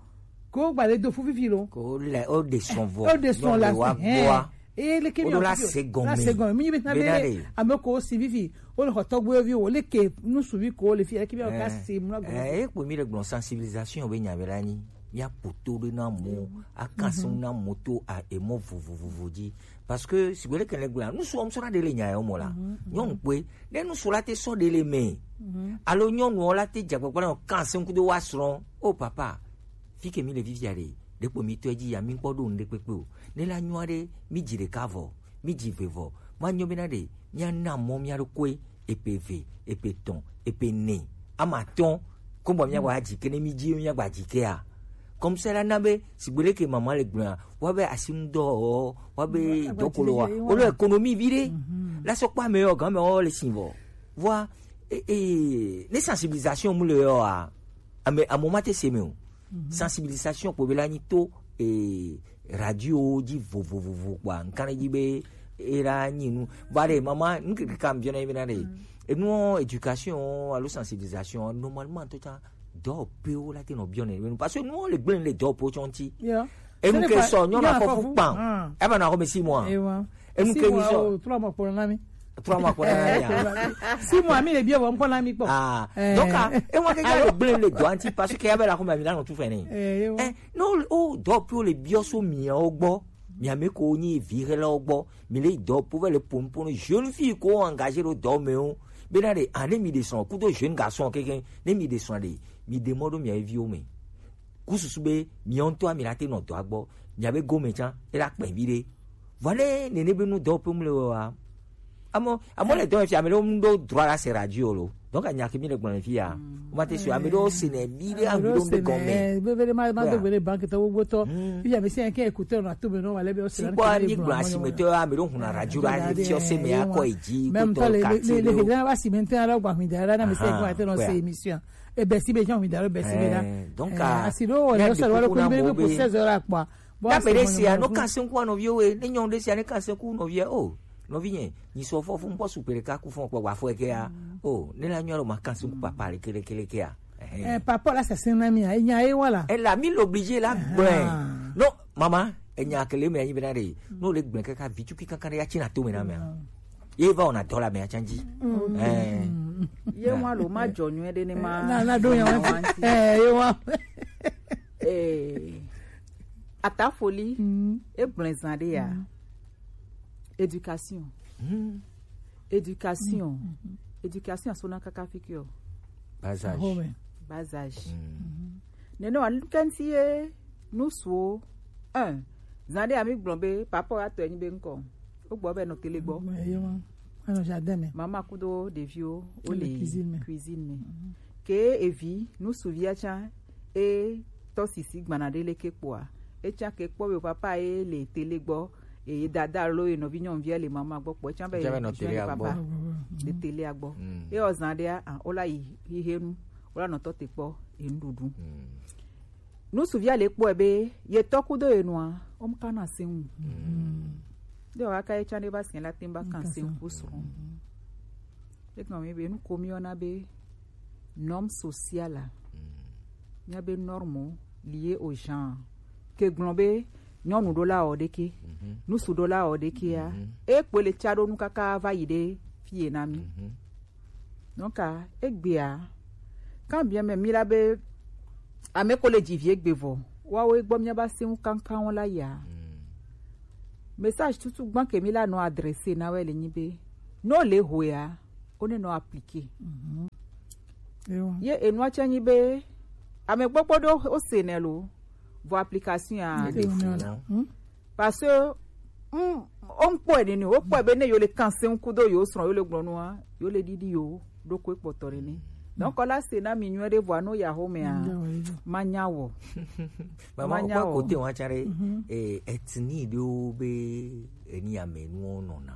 Ko gba le do fu fifi lo. Ko le o de son vo. O de son la wa se, eh. Boa. E le kemi o la se gome. La se gome. Mi be na be. Ame ko si fifi. O le hotɔ gbe vi o le ke nu su vi ko le fi, le kemi o ka si mu na gome. Eh, e po mi le gbon sensibilisation be nya be la ni. Ya poto de na mo, a kansi na moto a emo vovovovo di. Parce que si gbele kele gbla, nu so mo so na de le nya yo mo la. Nyon pe, de nu so la te so de le me. Alo nyon no la te ja gbagba na kansi ku do wa sron. Oh papa, fi ke mi le vivia de. De po mi to e ji ya mi po do nde pepe o. Ne la nyo de, mi ji de ka vo, mi ji ve vo. Ma nyo be na de, mi a na mo mi a do kwe, epe ve, epe ton, epe ne. Ama ton, ko bo mi a wa ji ke ne mi ji mi a gba ji ke a. Comme ça la na be, si gbele ke maman le gbla, wa be asim do, wa be dokolo wa. O lo économie vide. La so pa me o gan me o le sin vo. Voilà. E, e, ne sensibilisation mu le yo a. Ame, a moment te se me o. Sensibilisation ko be la ni to, e, radio di vovovovo kwa. Nkana di be, e la ni nu. Ba de, maman, nke ke kam biona be na de. E nu éducation, alo sensibilisation, normalement, to ta, do pe o la te no biona. Parce que nous, les blancs, les do po chonti. Yeah. E nu ke so, nyo na fo fu pan. E ba na ko me six mois. E nu ke mi so. Trois mois pour l'année. Trois mois pour l'année. Six mois, mi le bio, bon, pour l'année, bon. Ah. Donc, ah, e wa ke ya le blanc, le do anti, parce que ya be la ko me mi na no tu fene. Eh, non, o do pe o le bio so mi o gbo. Mi a me ko ni vire la o gbo. Mi le do po ve le pompon jeune fille ko engagé le do me o. Be na de, ane mi descend, kudo jeune garçon, quelqu'un, ne mi descend de. Mi demande mi a vi o me. Kususu be, mi on to a mi la te no do agbo. Mi a be go me chan, e la pe vi de. Voilà, ne ne be nu do pe mu le wa. Amo, amo le do fi a me lo mu do droit la se radio lo. Donc, a nya ke mi le gbon fi a. O ma te su a me do se ne mi de a mi do be go me. Be be ma ma do be banque to wo to. Fi a me se ke écouter on a tout be no wala be o se. Si kwa ni gbon a si me to a me do hun a radio la ni fi o se me a ko e ji. Même ko to le le le le va si me te a la gba mi da la na me se ko a te no se émission. E be si be jan mi da, e be si be da. Donc, a si lo o le so lo ko be be pour seize heures a quoi. Bon, na be de si a no kanse ku no vie o, ne nyon de si a ne kanse ku no vie o. Nɔvinye, nyi sɔ fɔ fún bɔ su pele ka ku fún kpɔ wa fɔ ke ya. O, ne la nyɔ lo ma kan su papa le kele kele ke ya. Eh, papa la sese na mi a, enya ye wala. E la mi l'obligé la gblẽ. Non, maman, enya kele me anyi bena de. No le gblẽ kaka vitu ki kankan ya china to me na me. Ye va ona dola me achanji. Eh. Ye wa lo ma jɔ nyuie de ne ma. Na na do ya wa. Eh, ye wa. Eh. Atafoli, e gblẽ zan de ya. Éducation. Éducation. Éducation so na kaka fiki o. Bas âge. Bas âge. Nene wa nukanti ye nusu o. Un. Zan de ami gblɔ be papa ya tɔ enyi be nkɔ. O gbɔ be nɔ tele gbɔ. Mama kudo ɖeviwo wo le cuisine me. Ke evi nusuvia tsã e tɔ sisi gbana ɖe leke kpɔa, e tsã ke kpɔ be papa ye le tele gbɔ, eye dada alo ye nɔvi nyɔnuvia le mama gbɔ kpɔ, e tsã be ye nɔ tele gbɔ. Le tele gbɔ. Ye ɔzan ɖea, o la yi hihe nu, o la nɔ tɔ te kpɔ ye nuɖuɖu. Nusuvia le kpɔe be ye tɔ kudo ye nɔa, o mu kana se ŋu. Ɖe wa ka ye tsã ɖe ba se la tem ba kan se ŋu ku srɔ̃. Egɔme be nu ko mi yɔna be norme sociale a. Mía be norme lié au genre. Ke gblɔ be nyɔnu ɖo la wɔ ɖeke, nusu ɖo la wɔ ɖeke ya. E kpoe le tsa ɖo nu kaka va yi ɖe fie na mi. Donc a egbea kan bien me mi la be ame ko le dzi vi egbe vɔ. Wa wo egbɔ mía ba se ŋu kankan wo la ya. Message tutu gbã ke mi la nɔ adresser na wɛ le nyi be, no le ho ya, o ne nɔ appliquer. Ye enua tsɛ nyi be, ame gbogbo ɖewo o se nɛ lo, vɔ application ya. Parce que, mm, o ŋkpɔe nini, o kpɔe be ne yo le kan se ŋku do yo srɔ̃, yo le gblɔ nua, yo le ɖiɖi yo ɖokui kpɔtɔ ɖe nɛ. Donc la se na mi nyuie ɖe vɔa no ya xo mea, ma nya wɔ. Mama, ma nya wɔ. Kote wa tsã ɖe, eh, ethnie ɖewo be eni ame nuwo nɔna.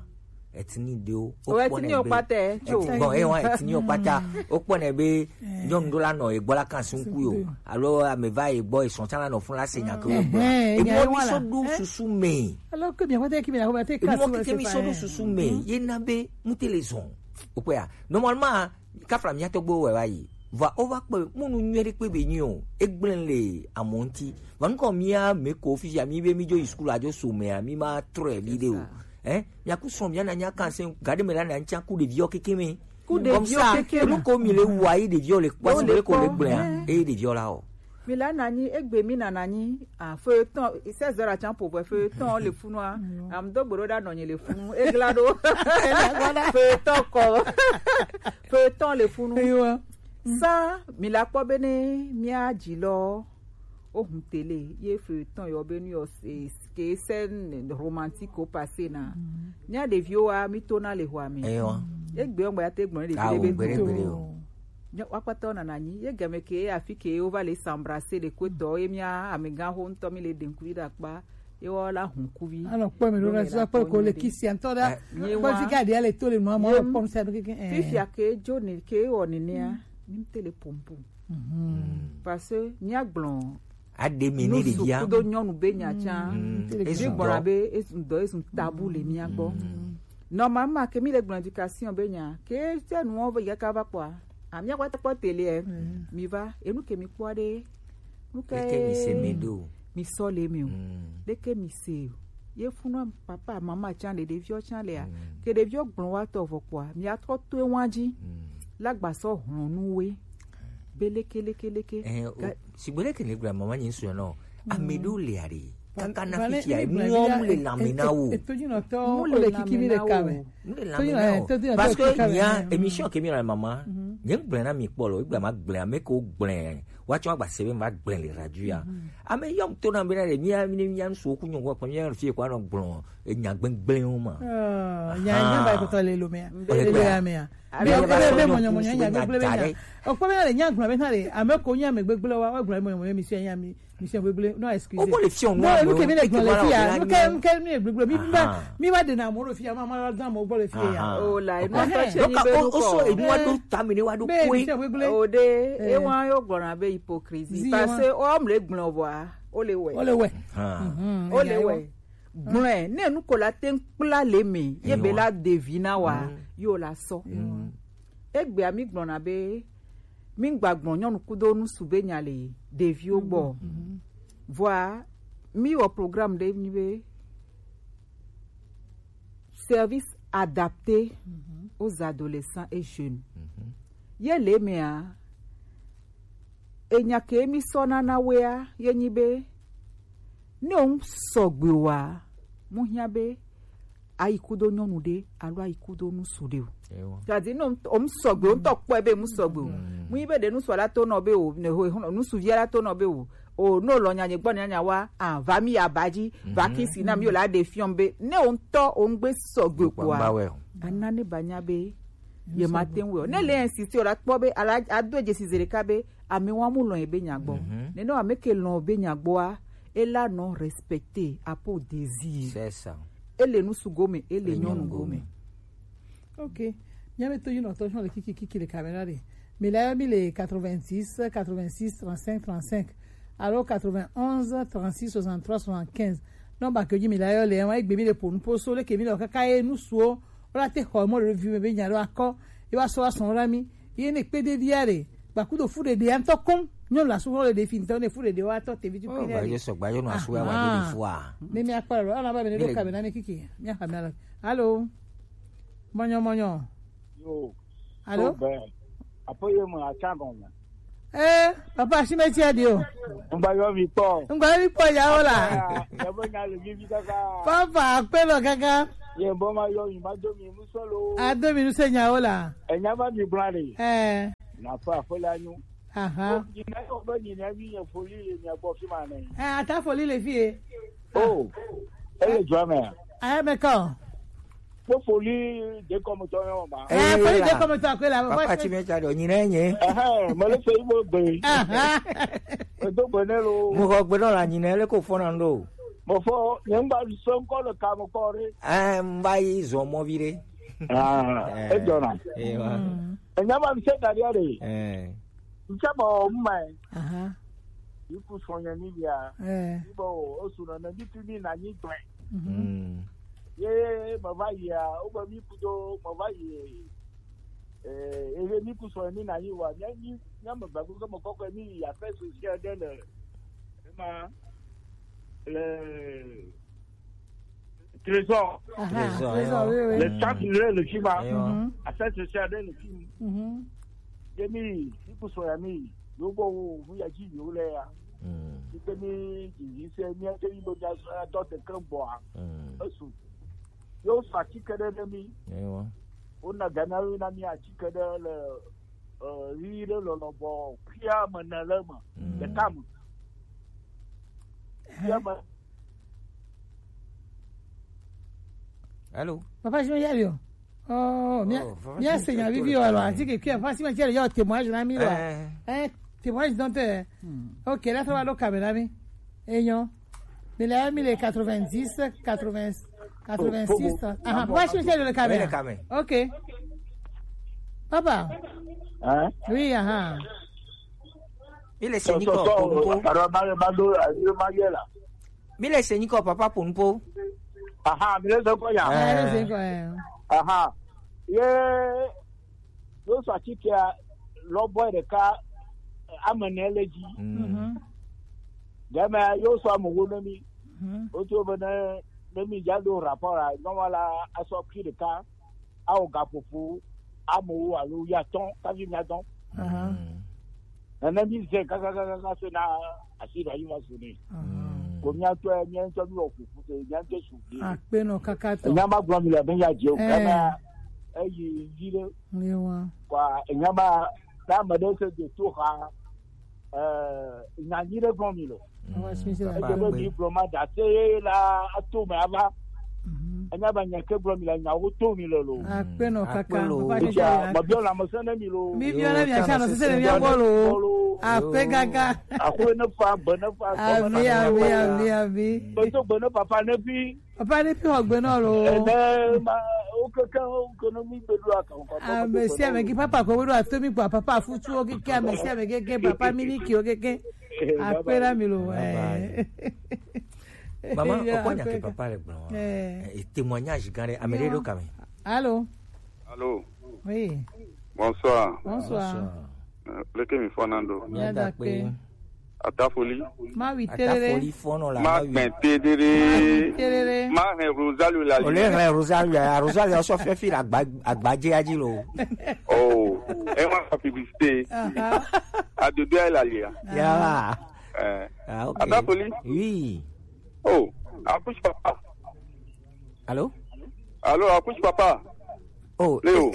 Ethnie ɖewo. O ethnie o kpata, tso. Bon, eh, wa ethnie o kpata. O kpɔnɛ be nyɔnu ɖo la nɔ egbɔ la kan sunku yo. Alo ame va egbɔ esɔn tsã la nɔ fun la se nya ke o gbɔ. Emo mi so ɖo susu me. Alors que bien, what est-ce que bien, what est-ce que mi so ɖo susu me. Ye na be mu te le zɔn. O kpɛ ya. Normalement, kafla mía tɔgbuiwo wɛ va yi. Vɔa wova kpɔe, mɔnu nyuie ɖe kpe be nyi o. Egblẽ le amewo ŋuti. Vɔ nukɔ mía me ko fifia mi be mi dzo yi sukulu adzo so mea, mi ma trɔe vi ɖe o. Hein? Mia ku srɔ̃ mia na nya kan se gaɖe me la na ŋtsia ku ɖeviwo keke me. Ku ɖeviwo keke me. Comme ça, enu ko mi le wa yi ɖeviwo le kpɔ si ko le gblẽa. Eye ɖeviwo la o. Mi la na nyi egbe mi na na nyi. Ah, feuilleton, seize heures atsan po vɔ, feuilleton le funua. Am do gboro da nɔnyi le funu. Egla do. Feuilleton kɔ. Feuilleton le funu. Sa mi la kpɔ be ne mia dzi lɔ. O hun tele ye feuilleton yɔ be nu yɔ ke scène romantique o passé na. Mia ɖeviwo wa mi to na le hoa mi. Egbe ɔgba ya te gblɔ ɖevi ɖe be to. Nyɔ wakpata na na nyi ye game ke afi ke o va le s'embrasser le ko to ye mia amega ho ŋutɔ mi le denkuvi ɖe akpa. Ye wɔ la hun kuvi. Anɔ kpɔ mi ɖo na sɔ kpɔ ko le kisi ŋutɔ ɖa. Kpɔ fi ka ɖia le to le nua mɔ kpɔ mi sa ɖo keke. Fifia ke jo ne ke wɔ nenea. Mi te le pompom. Parce que mia gblɔ. Aɖe mi ne ɖevia. Kudo nyɔnu be nya tsã. Mi gbɔna be esun dɔ esun tabu le mia gbɔ. Normalement ke mi le gblɔ éducation be nya ke te nuwo ve yaka va kpɔa. Amia kpata kpɔ tele ɛ. Mi va enu ke mi kpɔ ɖe. Nuke mi se mi do. Mi sɔ le mi o. Ɖeke mi se o. Ye funu papa mama tsã le ɖeviwo tsã lea. Ke ɖeviwo gblɔ wa tɔ vɔ kpɔa. Mi atrɔ to ewa dzi. La gba sɔ hlɔnu we. Be leke leke leke. Eh, o, sigbe leke ne gblɔ mama nyi sɔ nɔ. Ame ɖewo le aɖe. Kaka na fitia, mu le lame na wo. Mu le kiki mi le kame. Mu le lame na wo. Parce que nya émission ke mi le mama. Nye gblẽ na mi kpɔ lo, gblẽ ma gblẽ ame ko gblẽ. Wa tsɔ agba se be ma gblẽ le radio ya. Ame yɔm to na be na le mi mi mi su ku nyɔ ko mi fi ko anɔ gblɔ. Enya gbegblẽwo ma. Nya nya ba ko to le lo me. Le ya me ya. Be be mɔnyɔmɔnyɔ nya gbegblẽ be nya. O ko be na le nya gblɔ be na le ame ko nya me gbegblẽ wa gblɔ mɔnyɔmɔnyɔ mi se nya mi. Michel Webley, non, excusez. O ko le fiɔ nu. Non, nu ke mi le gblɔ le fia. Nu ke nu ke mi le gblɔ. Mi ba mi ba de na mo le fia, ma ma dan mo gbɔ le fia. O la, e ma to che ni be nu ko. O so e nu wa do ta mi ni wa do ko. Michel Webley. O de, e wa yo gblɔ na be hypocrisie. Parce que o mo le gblɔ wa, o le we. O le we. O le we. Gblɔe, ne nu ko la te ŋu kpla le me, ye be la devi na wa, yo la sɔ. Egbea mi gblɔna be, mi gba gblɔ nyɔnu kudo nusu be nya le deviwo gbɔ. Vɔa, mi wɔ programme ɖe nyi be service adapté aux adolescents et jeunes. Ye le mea, enya ke mi sɔ na na wea, ye nyi be, ne o ŋu sɔgbe wa, mu hiã be, ayi kudo nyɔnu ɖe, alo ayi kudo nusu ɖe o. Ewa. Gadi ne o ŋu sɔgbe, o ŋutɔ kpɔe be mu sɔgbe o. Mu yi be ɖe nusu la to nɔ be o, ne ho, ho, nusu via la to nɔ be o. O, no lɔ nya nye gbɔ nya nya wa, a, va mi ya ba dzi, va kisi na mi o la ɖe fiɔm be, ne o ŋutɔ o ŋgbe sɔgbe kpoa, ana ne ba nya be, ye ma te ŋu wɛ o. Ne le insister o la kpɔ be, ala, ado dzesi ze ɖeka be, ame wa mu lɔn ye be nya gbɔ. Nene ame ke lɔn be nya gbɔa, e la nɔ respecter après désir. C'est ça. E le nusu gome, e le nyɔnu gome. Ok. Miabe to yinɔ tɔ sɔn le kiki kiki le caméra de. Mi la yɔ mi le quatre-vingt-six, quatre-vingt-six, trente-cinq, trente-cinq. Alo quatre-vingt-onze, trente-six, soixante-trois, soixante-quinze. Non, ba ke mi la yɔ le, wa egbe mi le po nu po so le ke mi le kaka e nusuo. Wala te xɔ mɔ le vi me be nya ɖo akɔ. Ye wa sɔ wa sɔn la mi. Ye ne kpe de via de. Ba kudo fu de de antɔ kɔn. Nyɔ la su xɔ le de fi ntɔ ne fu de de wa tɔ te vi tu kpe de. Ba ye sɔ gba yo no asu wa wa de fua. Ne mi akpa lo. Ala ba be ne do ka be na mi kiki. Mi akpa mi ala. Allô. Mɔnyɔ, mɔnyɔ. Yo. Allô? Apo ye mo acha gon. Eh, papa, si me tia di o. Ngba yo mi po. Ngba yo mi po ya o la. Ya bo nya le mi bi kaka. Papa, akpe lo kaka. Ye bo ma yo mi ma do mi mu so lo. A do mi nu se nya o la. E nya ba mi bla le. Eh. Na fa fo la nu. Aha. Ni na yo ba ni na mi ya fo li le mi a bo fi ma na. Eh, ata fo li le fi e. Oh, ele jua me. Aya me kan. Kpɔ foli de kɔmutɔ yɔ ma. Eh, foli de kɔmutɔ akpe la. Papa ti mi tsa do nyi ne nye. Ɛhɛn, mo le se ibo gbe. Aha. Edo gbe ne lo. Mo xɔ gbe nɔ la nyi ne le ko fɔ na ndo. Mo fɔ, nye ngba so nkɔ le ka mo kɔ re. Eh, mba yi zɔ mɔ vi de. Ah, e jɔ na. Eh, wa. Enya ma mi se da dia de. Eh. Ntse bɔ mma. Aha. Iku sɔnyɛ ni bia. Eh. Ibo o su na na bi tu ni na ni gbe. Mm. Ye ma va yi a, o ba mi ku do ma va yi. Eh, e mi ku sɔnyɛ ni na yi wa. Nya ni nya ma ba ku ko mo kɔkɔ ni ya fɛ so si a de le. Ma le Trésor. Aha, Trésor, trésor, oui, oui. Le chat le le chima. Mhm. Affaire sociale de le film. Mhm. Demi, si ku so ya mi, yo bo wo hu ya ji yo le ya. Mm. Demi ji ji se mi a te mi bo ja so ya to te kan bo a. Mm. Esu. Yo sa ti ke de mi. Ewa. O na gana yo na mi a ti ke de le, eh, ri de lo lo bo. Kia ma na le ma. Mm. Le kam. Kia ma. Allô? Papa, je me yari o. Oh, mia, mia se nya vivi o alors, ati ke kia, papa, si me yari yo témoignage na mi lo. Eh. Eh, témoignage donc, eh. Hmm. Ok, la ça va le caméra mi. Et non. Mais là, mi le quatre-vingt-dix, quatre-vingts, quatre-vingt-six. Ah, papa, si me yari le caméra. Le caméra. Ok. Papa. Hein? Oui, aha. Mi le se nyi kɔ, Ponpo. Mi le se nyi kɔ, papa Ponpo. Aha, mi le se kɔ ya. Eh. Mi le se kɔ ya. Aha. Ye, yo so ati ke lɔ bɔ ɖeka, ame ne le dzi. Mm. Mhm. Game yo so ame wo ne mi. Mhm. O to be ne, ne mi ja do rapport a, normal a, a so ki ɖeka. Ao gaƒoƒo amewo alo ya tɔn kafi mia tɔn. Aha. Mm. Nene mi ze kakakaka se na asi ɖe ayi va su ne. Aha. Mm. Ko mia tɔ mia ŋutɔ mi wɔ ƒoƒu se mia ŋutɔ su vi. Akpe nɔ kaka tɔ. Nya ma gblɔ mi le be ya dze o. Eh. Kana eyi yi ɖe. Yewa. Kwa nya ma na ame ɖe se do to xa. Eh, nya nyui ɖe gblɔm mi le. Mm, eye be mi gblɔ ma da se la ato me ava. Mhm. Enya be nya ke gblɔm mi le nyawo to mi le lo. Akpe nɔ kaka. Akpe lo. Papa, esia, me biɔ lãmesẽ ne mi lo. Mi biɔ na mi asa nɔ sese ne mia gbɔ lo. Akpe kaka. Akpe ne fa, be ne fa, ami, ami, ami, ami. Be to be ne papa ne fi. Papa ne fi xɔ gbe nɔ lo. Ene ma, wo keke wo ke ne mi gbe ɖo aka ŋkɔ. Ame sia ame ke papa ko ɖo ato mi kpɔ papa futuwo keke ame sia ame keke papa mi ni kiwo keke. Akpe na mi lo. Bye bye. Eh. Maman, o kpɔ nya ke papa le gblɔ wa. Eh, témoignage gã ɖe, ame ɖe ɖo kame. Allô? Allô? Oui. Bonsoir. Bonsoir. Bonsoir. Euh, leke mi fɔna ɖo? Mia da kpe. Atafoli. Ma wi terere. Atafoli fɔnɔ la, ma gbɛn terere. Ma wi terere. Ma hɛn Rosario la. O le hɛn Rosario ya, Rosario sɔ fɛ fi agba, agbadze ya dzi lo. Oh, e ma fa publicité. Aha. Adodo ya la lia. Ya va. Eh. Ah, ok. Atafoli. Oui. Oh, accouche papa. Allô? Allô, accouche papa. Oh. Léo.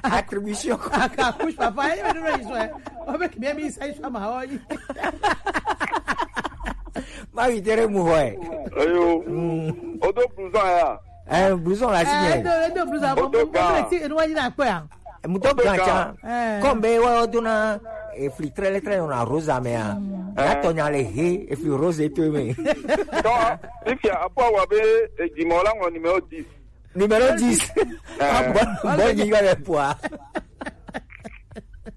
Attribution. Accouche papa, il va nous réjouir. On veut que bien mis ça, il soit marrant. Ma wi tere mu hɔ ɛ. Eyo. Mm. O do blouson ya. Eh, blouson la si. Eh, do, do blouson. O do ga. Mo ti enu wa yi na pe a. Muto gan can. Eh. Comme be wa dona efli trele trele na Rosa me a. Ya to nya le he efli Rose to me. Donc, fifia, après avoir fait, eh, du Mola, mon numéro dix. Numéro dix. Eh. Ah, bon, bon, il va le poids.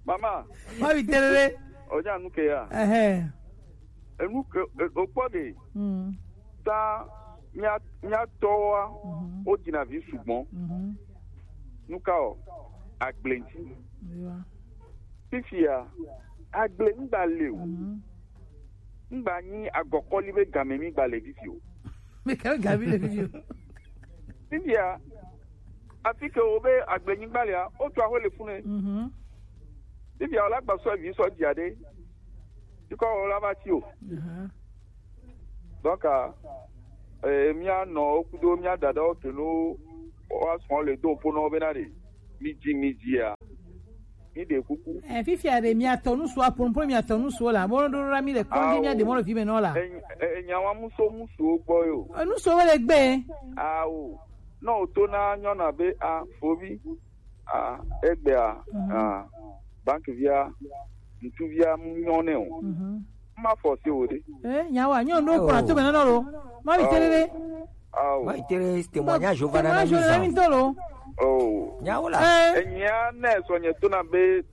Maman. Ma wi terere. O ja nu ke ya. Eh. Enu ke, eh, o kpɔ ɖe. Mm. Ta mia, mia tɔwoa, mhm, wo dina vi sugbɔ. Mhm. Nu ka o? Agble ŋti. Ewa. Fifia, agble ŋgba le o. Mhm. Ŋgba nyi agɔkɔli be game mi gba le fifi o. Mi ka game le fifi o. Fifia, afi ke wo be agble nyigba lea, o tu aho le fune. Mhm. Fifia, o la gba sɔ vi sɔ dia ɖe. Bikɔ o la va ti o. Aha. Donc, euh, mía nɔwo kudo mía dadawo ke no wa sɔn le do po no bena de. Mi dzi, mi dzia. Mi de kuku. Eh, fifia de mía tɔ nusu apo po mía tɔ nusu la. Bo do ra mi le kɔndi mía de mo le vi me no la. E, e, e, nya wa muso musu gbɔ yo. Eh, nusu wo le gbe. Ah, o. No to na nyɔna be a fovi. Ah, egbea, mhm, ah, banque via, ŋutuvia mu nyɔ nɛ o. Mhm. Ma forcer o ɖe. Eh, nyawa, nyɔ ndo kura to mena lo. Ma bi tele ɖe. Ah, o. Ma bi tele témoignage o va na mi témoignage o na mi to lo. Oh. Nyawo la. Eh. Enyia ne sɔ nye to na be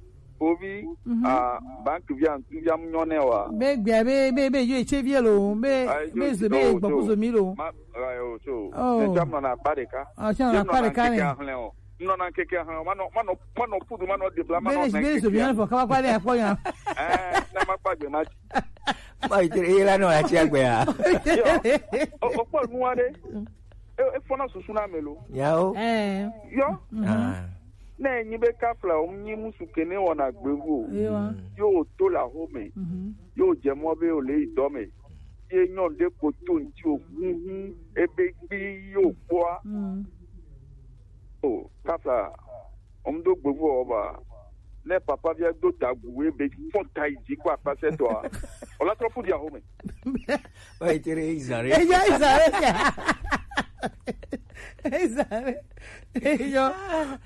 ovi, mhm, ah, banque via ŋutuvia mu nyɔ nɛ wa. Be gbea be, be, be yo eche vie lo, be, ah, be zo, be gbɔ kuzo mi lo. Ma, ah, yo, so. Oh. Ne jam na pa de ka. Ah, jam na pa de ka ne. Nɔna ŋkeke hã, manɔ, manɔ, manɔ pudu, manɔ debla, manɔ beli, beli, so bien, faut kaba kwa le akpɔ ya. Eh, na ma kpa gbe ma ti. Ma ite e la no la ti agbe ya. Yo, o, o kpɔ nu aɖe. E, e fɔna susu na me lo. Ya o. Eh. Yo. Ah. Ne nyi be kafla o nyi musu kene wɔna gbevu o. Yo. Yo to la home. Mhm. Yo dze mɔ be o le yi dɔ me. Ye nyɔnu ɖe ko to ŋti o huhu ebe gbi yo kpɔa. Mm. O, kafla, ɔm do gbevu ɔba. Ne papa via do tagu ebe fɔn ta yi dzi ko akpasɛ tɔa. Ɔla trɔ fu di aho me. Wa itere izare. Eya izare. Izare. Eyo.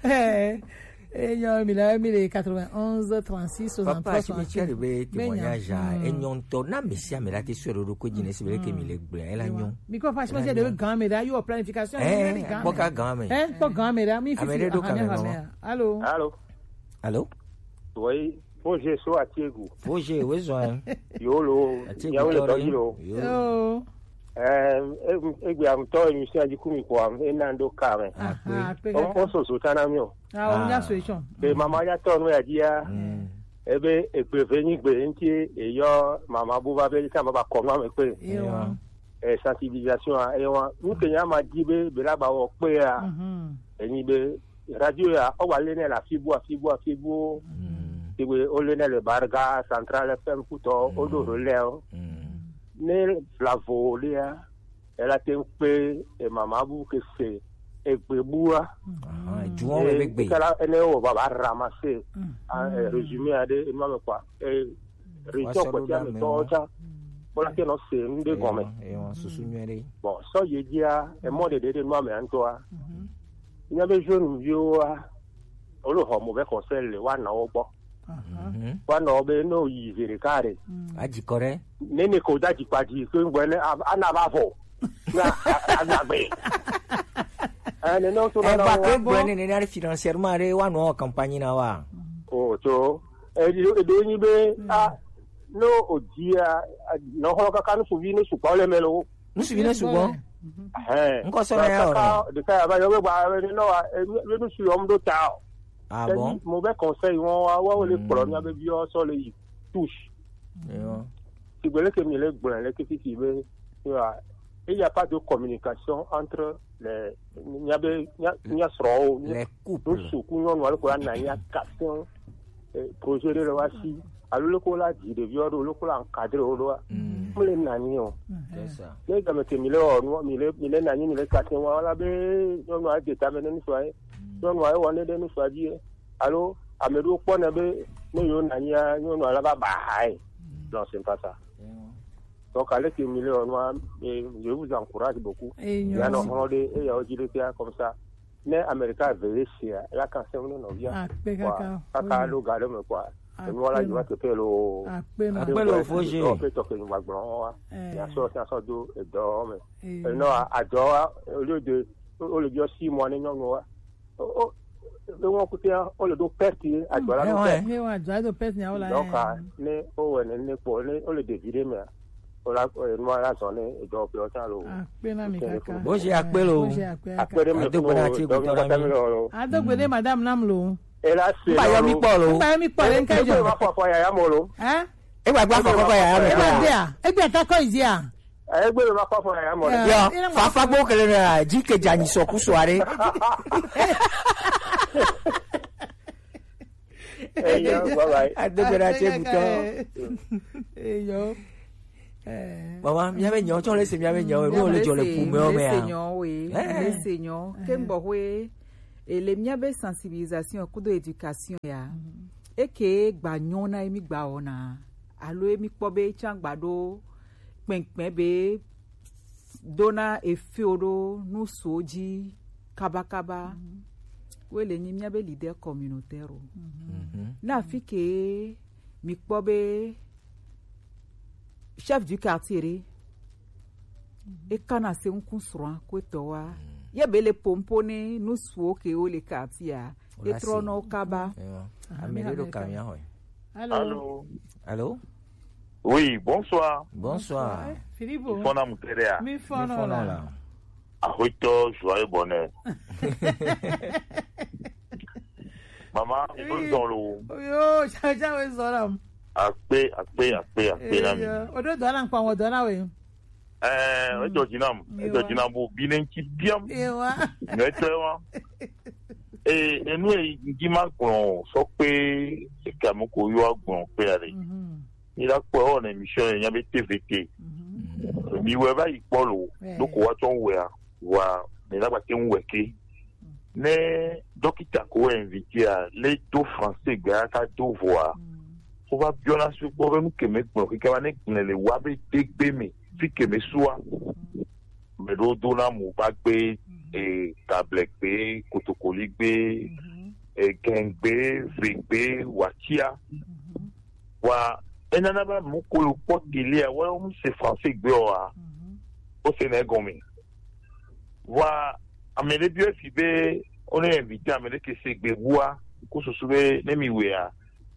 Eh. Enyɔ mi le mi le quatre-vingt-onze trente-six soixante-trois soixante-six. Papa, si mi tsɛ le be témoignage a, enyɔ ŋutɔ. Na mesi ame la te sue ɖo ɖo ko dzi ne si be ke mi le gblẽ, ela nyɔ. Mi ko fa si de gan me da yo planification. Eh, kpɔ ka gan me. Eh, kpɔ gan me da mi fi. Ame ɖe ɖo kamera. Allô? Allô? Allô? Oui, Roger so Atiegu. Roger, oui, zo. Yo lo. Atiegu ya le to yi lo. Yo. Yo. Eh, e, egbe am to émission di ku mi ko am e na ndo ka me. Aha, pe. O, o so so tana mi o. Ah, o nya solution. Be mama ya tɔ nu ya dia. Mm. Ebe egbe ve nyi gbe nti e yɔ mama bu va be ka ma ba kɔ nu ame pe. Ewa. Eh, sensibilisation a, ewa. Nu ke nya ma di be be la ba wɔ pe a. Mhm. Enyi be radio ya o wa le ne la fibu a fibu a fibu. Mm. Ti we o le ne le Barga Central F M kutɔ o do relais o. Mm. Ne la vo le a. Ela te ŋu kpe emama bu ke se egbe bua. Aha, eduwo me be gbe. Kala ene wo baba ramasser. Mm. Ah, eh, résumé aɖe enua me kpɔa. Eh, région kpɔtia me tɔwo tsã. Kpɔla ke nɔ se nu ɖe gɔme. Ewa, susu nyuie ɖe. Bon, sɔ ye dzia, emɔ ɖeɖe ɖe nua me ŋutɔa. Mhm. Nya be jeune viwoa, wole xɔ mauvais conseil le woanɔwo gbɔ. Aha. Mhm. Woanɔ be ne woyi zi ɖeka ɖe. Mm. Adzi kɔ ɖe. Ne ne ko da dzi kpa dzi so ŋgbɔ ne a, ana va vɔ. Na a, a, agbe. Eh, ne ne so na. Eh, na ba ke gblɔ ne ne na financièrement ɖe woanɔ campagne na wa. O to. E ɖo, e ɖo nyi be a No o dia, no ho kaka no suvi no supa le melo. Nusu bi ne sugbɔ. Hɛn. Nkɔ sɔ na ya kaka ɔrɔ. De ka ya ba yo be ba be no wa, e, be nusu yo mdo ta o. Ah bon? Mo be conseil won wa wa le kplɔ mia be bi o sɔ le yi touche. Yo. Ti gbele ke mi le gblɔ le ke titi be, tu vois, il y a pas de communication entre les, mia be, mia, mia srɔwo, les couples. Nusu ku nyɔnu alo ko na ya question, eh, projet de loi si, alo le ko la di ɖevi wo ɖo, le ko la encadrer wo ɖoa. Mm. Mle nani o. C'est ça. Ne game ke mi le o, mi le, mi le nani, mi le question wa la be, nyɔnu a de ta me ne nusu a ye. Nyɔnu a ye wɔ ne de nusu a di ye. Alo, ame ɖewo kpɔna be ne yewo nɔ anyia, nyɔnua la va ba hae. Non, c'est pas ça. Donc, allez que million noir, et je vous encourage beaucoup. Yanɔ hɔn ɖe eyawo dzi ɖe fia comme ça. Ne Amerika veillé sia, la kan sɛm ne nɔvia. Akpe kaka. Kaka ɖo ga ɖe me quoi. Enua la yi va teƒe lo. Akpe ma. Akpe lo fo je. Ɔ pe tɔ ke nyuma gblɔ wa. Ya sɔ ya sɔ do edɔ me. Enɔ adɔ wa, au lieu de, au lieu de six mois ne nyɔnu wa. O, o, e wọn kutia, o le ɖo perte ye, adzɔ la ɖo perte. Ne wọn adzɔ la ɖo perte nya o la. Donc, ne o wɛ ne ne kpɔ, ne o le ɖevi ɖe mea, o la, e, nua la zɔn ne edɔ ƒe o ta lo. Akpe na mi kaka. Bo je akpe lo. Bo je akpe. Akpe ɖe mi. Ado gbe na ti dɔ mi kpata mi lo. Ado gbe ɖe madame nam lo. E la se. Ba yɔ mi kpɔ lo. Ba yɔ mi kpɔ le nka jo. Ma fɔ fɔ ya ya mo lo. Hein? E gba gba fɔ kɔkɔ ya ya mo. E gba dia. E gba ta kɔ izia. Egbe be ma kpɔ afɔ ya mɔ ɖe. Yo, fafa gbo kele na ji ke dza nyi sɔ ku sɔ aɖe. Eyo, bye bye. Adegbe na te butɔ. Eyo. Mama, mia be nyawo tsɔ le se mia be nyawo, nu le dzɔ le pume o me a. Le se nyawo we, le se nyawo. Ke n gbɔ we, e le mia be sensibilisation kudo éducation ya. Eke gba nyɔ na emi gba wɔna. Alo emi kpɔ be tsã gba ɖo kpɛnkpɛn be dona efio ɖo nusuwo dzi kabakaba. Woe le nyi míabe leader communautaire o. Na afi ke mi kpɔ be chef du quartier ɖe, e kana se ŋku srɔ̃a ko etɔ wa. Ye be le pompo ne nusuwo ke wo le quartier a, e trɔ nɔ wo kaba. Ame ɖe ɖo kamia xɔe. Allô. Allô. Allô. Oui, bonsoir. Bonsoir. Philippe. Mi fɔna mu te ɖea? Mi fɔna la. Axoetɔ Joyeux Bonheur. Mama, o zɔn lo. Yo, chacha we zɔn la. Akpe, akpe, akpe, akpe na mi. O do dɔ na nkpa wo dɔ na we. Eh, edzɔ dzi nam, edzɔ dzi nam bo bi ne ŋtsi biam. Ewa. Nyɔtɔe wa. Eh, enu e ŋtsi ma gblɔ sɔ kpe eka mo ko yɔ gblɔ kpe ale. Mi la kpɔ ewɔ ne émission ye nya be T V T. Mi wɛ va yi kpɔ lo, do ko wa tsɔ wɛ a, wa mi la gba te ŋu wɛ ke. Ne dɔkita ko wɛ invité a, le do français gbe a ka do vɔ a, ko va biɔ na su kpɔ be nu ke me gblɔ keke va ne gblẽ le wa be degbe me, fi ke me sua. Me ɖo do na mo va gbe, e, table gbe, kotokoli gbe, e, gɛn gbe, ve gbe, watia. Wa enana be amewo ko le kpɔ télé a, woawo mu se français gbe o a, wo se na egɔme. Wa ame ɖe biɔ efi be wo ne invité ame ɖe ke se gbe bua, ko susu be ne mi wea,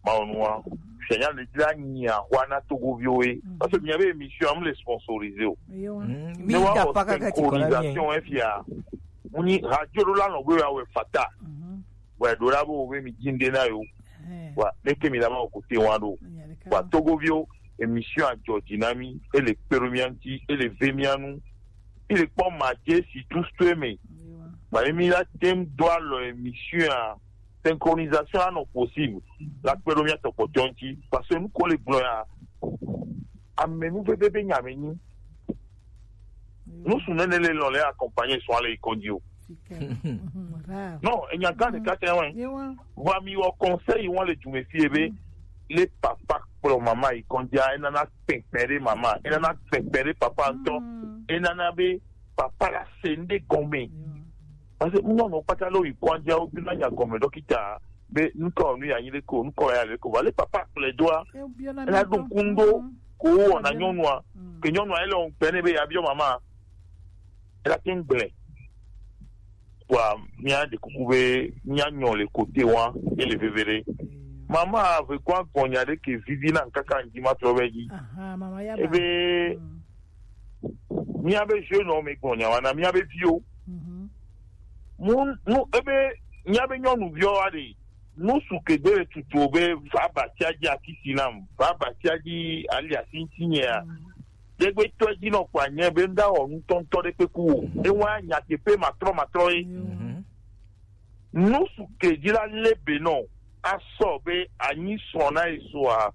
ma wo nua, fianya le dzra nyi ahua na Togoviwo ye. Parce que mia be émission am le sponsorisé o. Ne wa wɔ synchronisation efia, mu ni radio ɖo la nɔ gbe ya wɛ fata. Wa ɖo la bo be mi dzi ŋɖe na yo. Wa leke mi la ma wo kote wa ɖo. Wa Togoviwo, émission a jɔ dzi na mi, ele kpe ɖo mia ŋuti, ele ve mia nu. Mi le kpɔ ma je si tout ce me. Ba mi la tem do alɔ émission a synchronisation a nɔ possible. La kpe ɖo mia tɔkpɔtɔ ŋuti. Parce que nu ko le gblɔ ya, ame nu veve be nya me nyi. Nusu nene le lɔn le accompagner sɔn ale yi kɔdzi o. Non, enya gã ɖeka tɛ wɛ. Vɔ mi wɔ conseil wɔn le dume fie be le papa kplɔ mama yi kɔdzi a, enana kpɛkpɛ ɖe mama, enana kpɛkpɛ ɖe papa ŋutɔ, enana be papa la se ŋɖe gɔme. Parce que nyɔnu kpata le yi kɔdzi a, wo bi na nya gɔme dɔkita be nukɔ nu ya nyi ɖe ko, nukɔ ya le ko. Vɔ le papa kplɛ doa, ena ɖo ŋku ŋɖo ko wɔna nyɔnua, ke nyɔnua ele wɔn kpɛ ne be ya biɔ mama. Ela te ŋu gblẽ. Kpoa mía ɖe kuku be mía nyɔ le kote wa, ele veve ɖe. Mama, ve kwa gbɔnya ɖe ke vivi na kaka ŋdi ma trɔ be dzi. Aha, mama ya ba. Ebe, mm, mía be jeune homme gbɔnya wana mía be viwo. Mhm. Mu, nu, ebe, mía be nyɔnuviwo wa ɖe. Nu su ke gbe le tutu be va batia dzi akisi nam, va batia dzi ali asi ŋuti nyea. Mhm. Ɖegbe tɔ dzi nɔ kpa nye be ŋda wɔ nutɔntɔ ɖe kpeku wo. Ewa nyateƒe matrɔ matrɔ ye. Mhm. Nu su ke dzi la le be nɔ asɔ be anyi srɔ̃ na ye soa.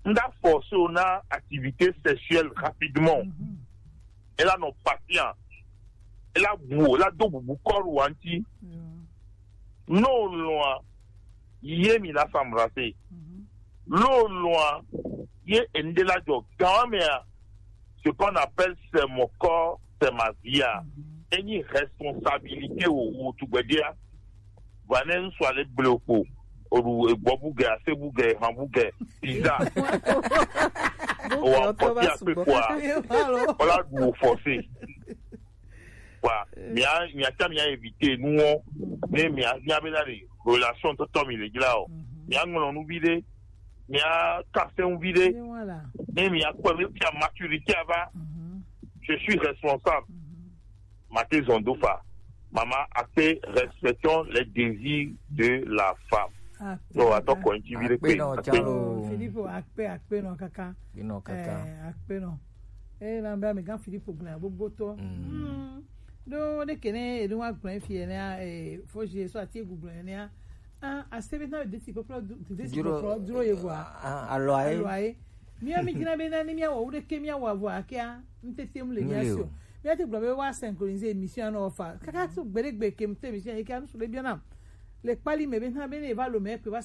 Ŋda force wo na activité sexuelle rapidement. Mhm. Ela nɔ patient. Ela bu, ela do bubu kɔru wa ŋuti. Yeah. No loin, ye mi la s'embrasser. Mhm. Lo loin, ye ende la jɔ. Quand même, ce qu'on appelle c'est mon corps, c'est ma vie. Mhm. Enyi responsabilité o, o tugbedia. Vanessa le bloko. Oɖu egbɔ bugɛ, ase bugɛ, han bugɛ, pizza. O wa kɔti akpe kɔa. Ola ɖu o forcé. Kɔa, mia, mia ta mia éviter nuwo. Ne mia, mia be la de relation tɔtɔ mi le dzi la o. Mia ŋlɔ nu vi ɖe. Mia kase nu vi ɖe. Ne mia kpɔ be fia maturité ava. Je suis responsable. Mate zɔn do fa. Maman, acte, respectons les désirs de la femme. Donc, attends, quand tu vis le pays, acte. Philippe, acte, acte, non, kaka. Non, kaka. Eh, acte, non. Eh, là, ben, mais quand Philippe, on a beaucoup de temps. Hmm. Donc, on est que ne, et nous, on a plein de filles, eh, faut que je sois à Google, eh, ah, à ce moment-là, des petits copains, des petits copains, duro, ye voir. Ah, alors, eh. Alors, eh. Mia mi dina be na ni mia wa, wo de ke mia wa vo akia, ntete mu le mia sio. Mia te gblɔ be wa synchroniser émission na ofa. Kaka tu gbede gbe ke mte émission yi ka nu su le biana. Le kpali me be na be ne va lo me pe va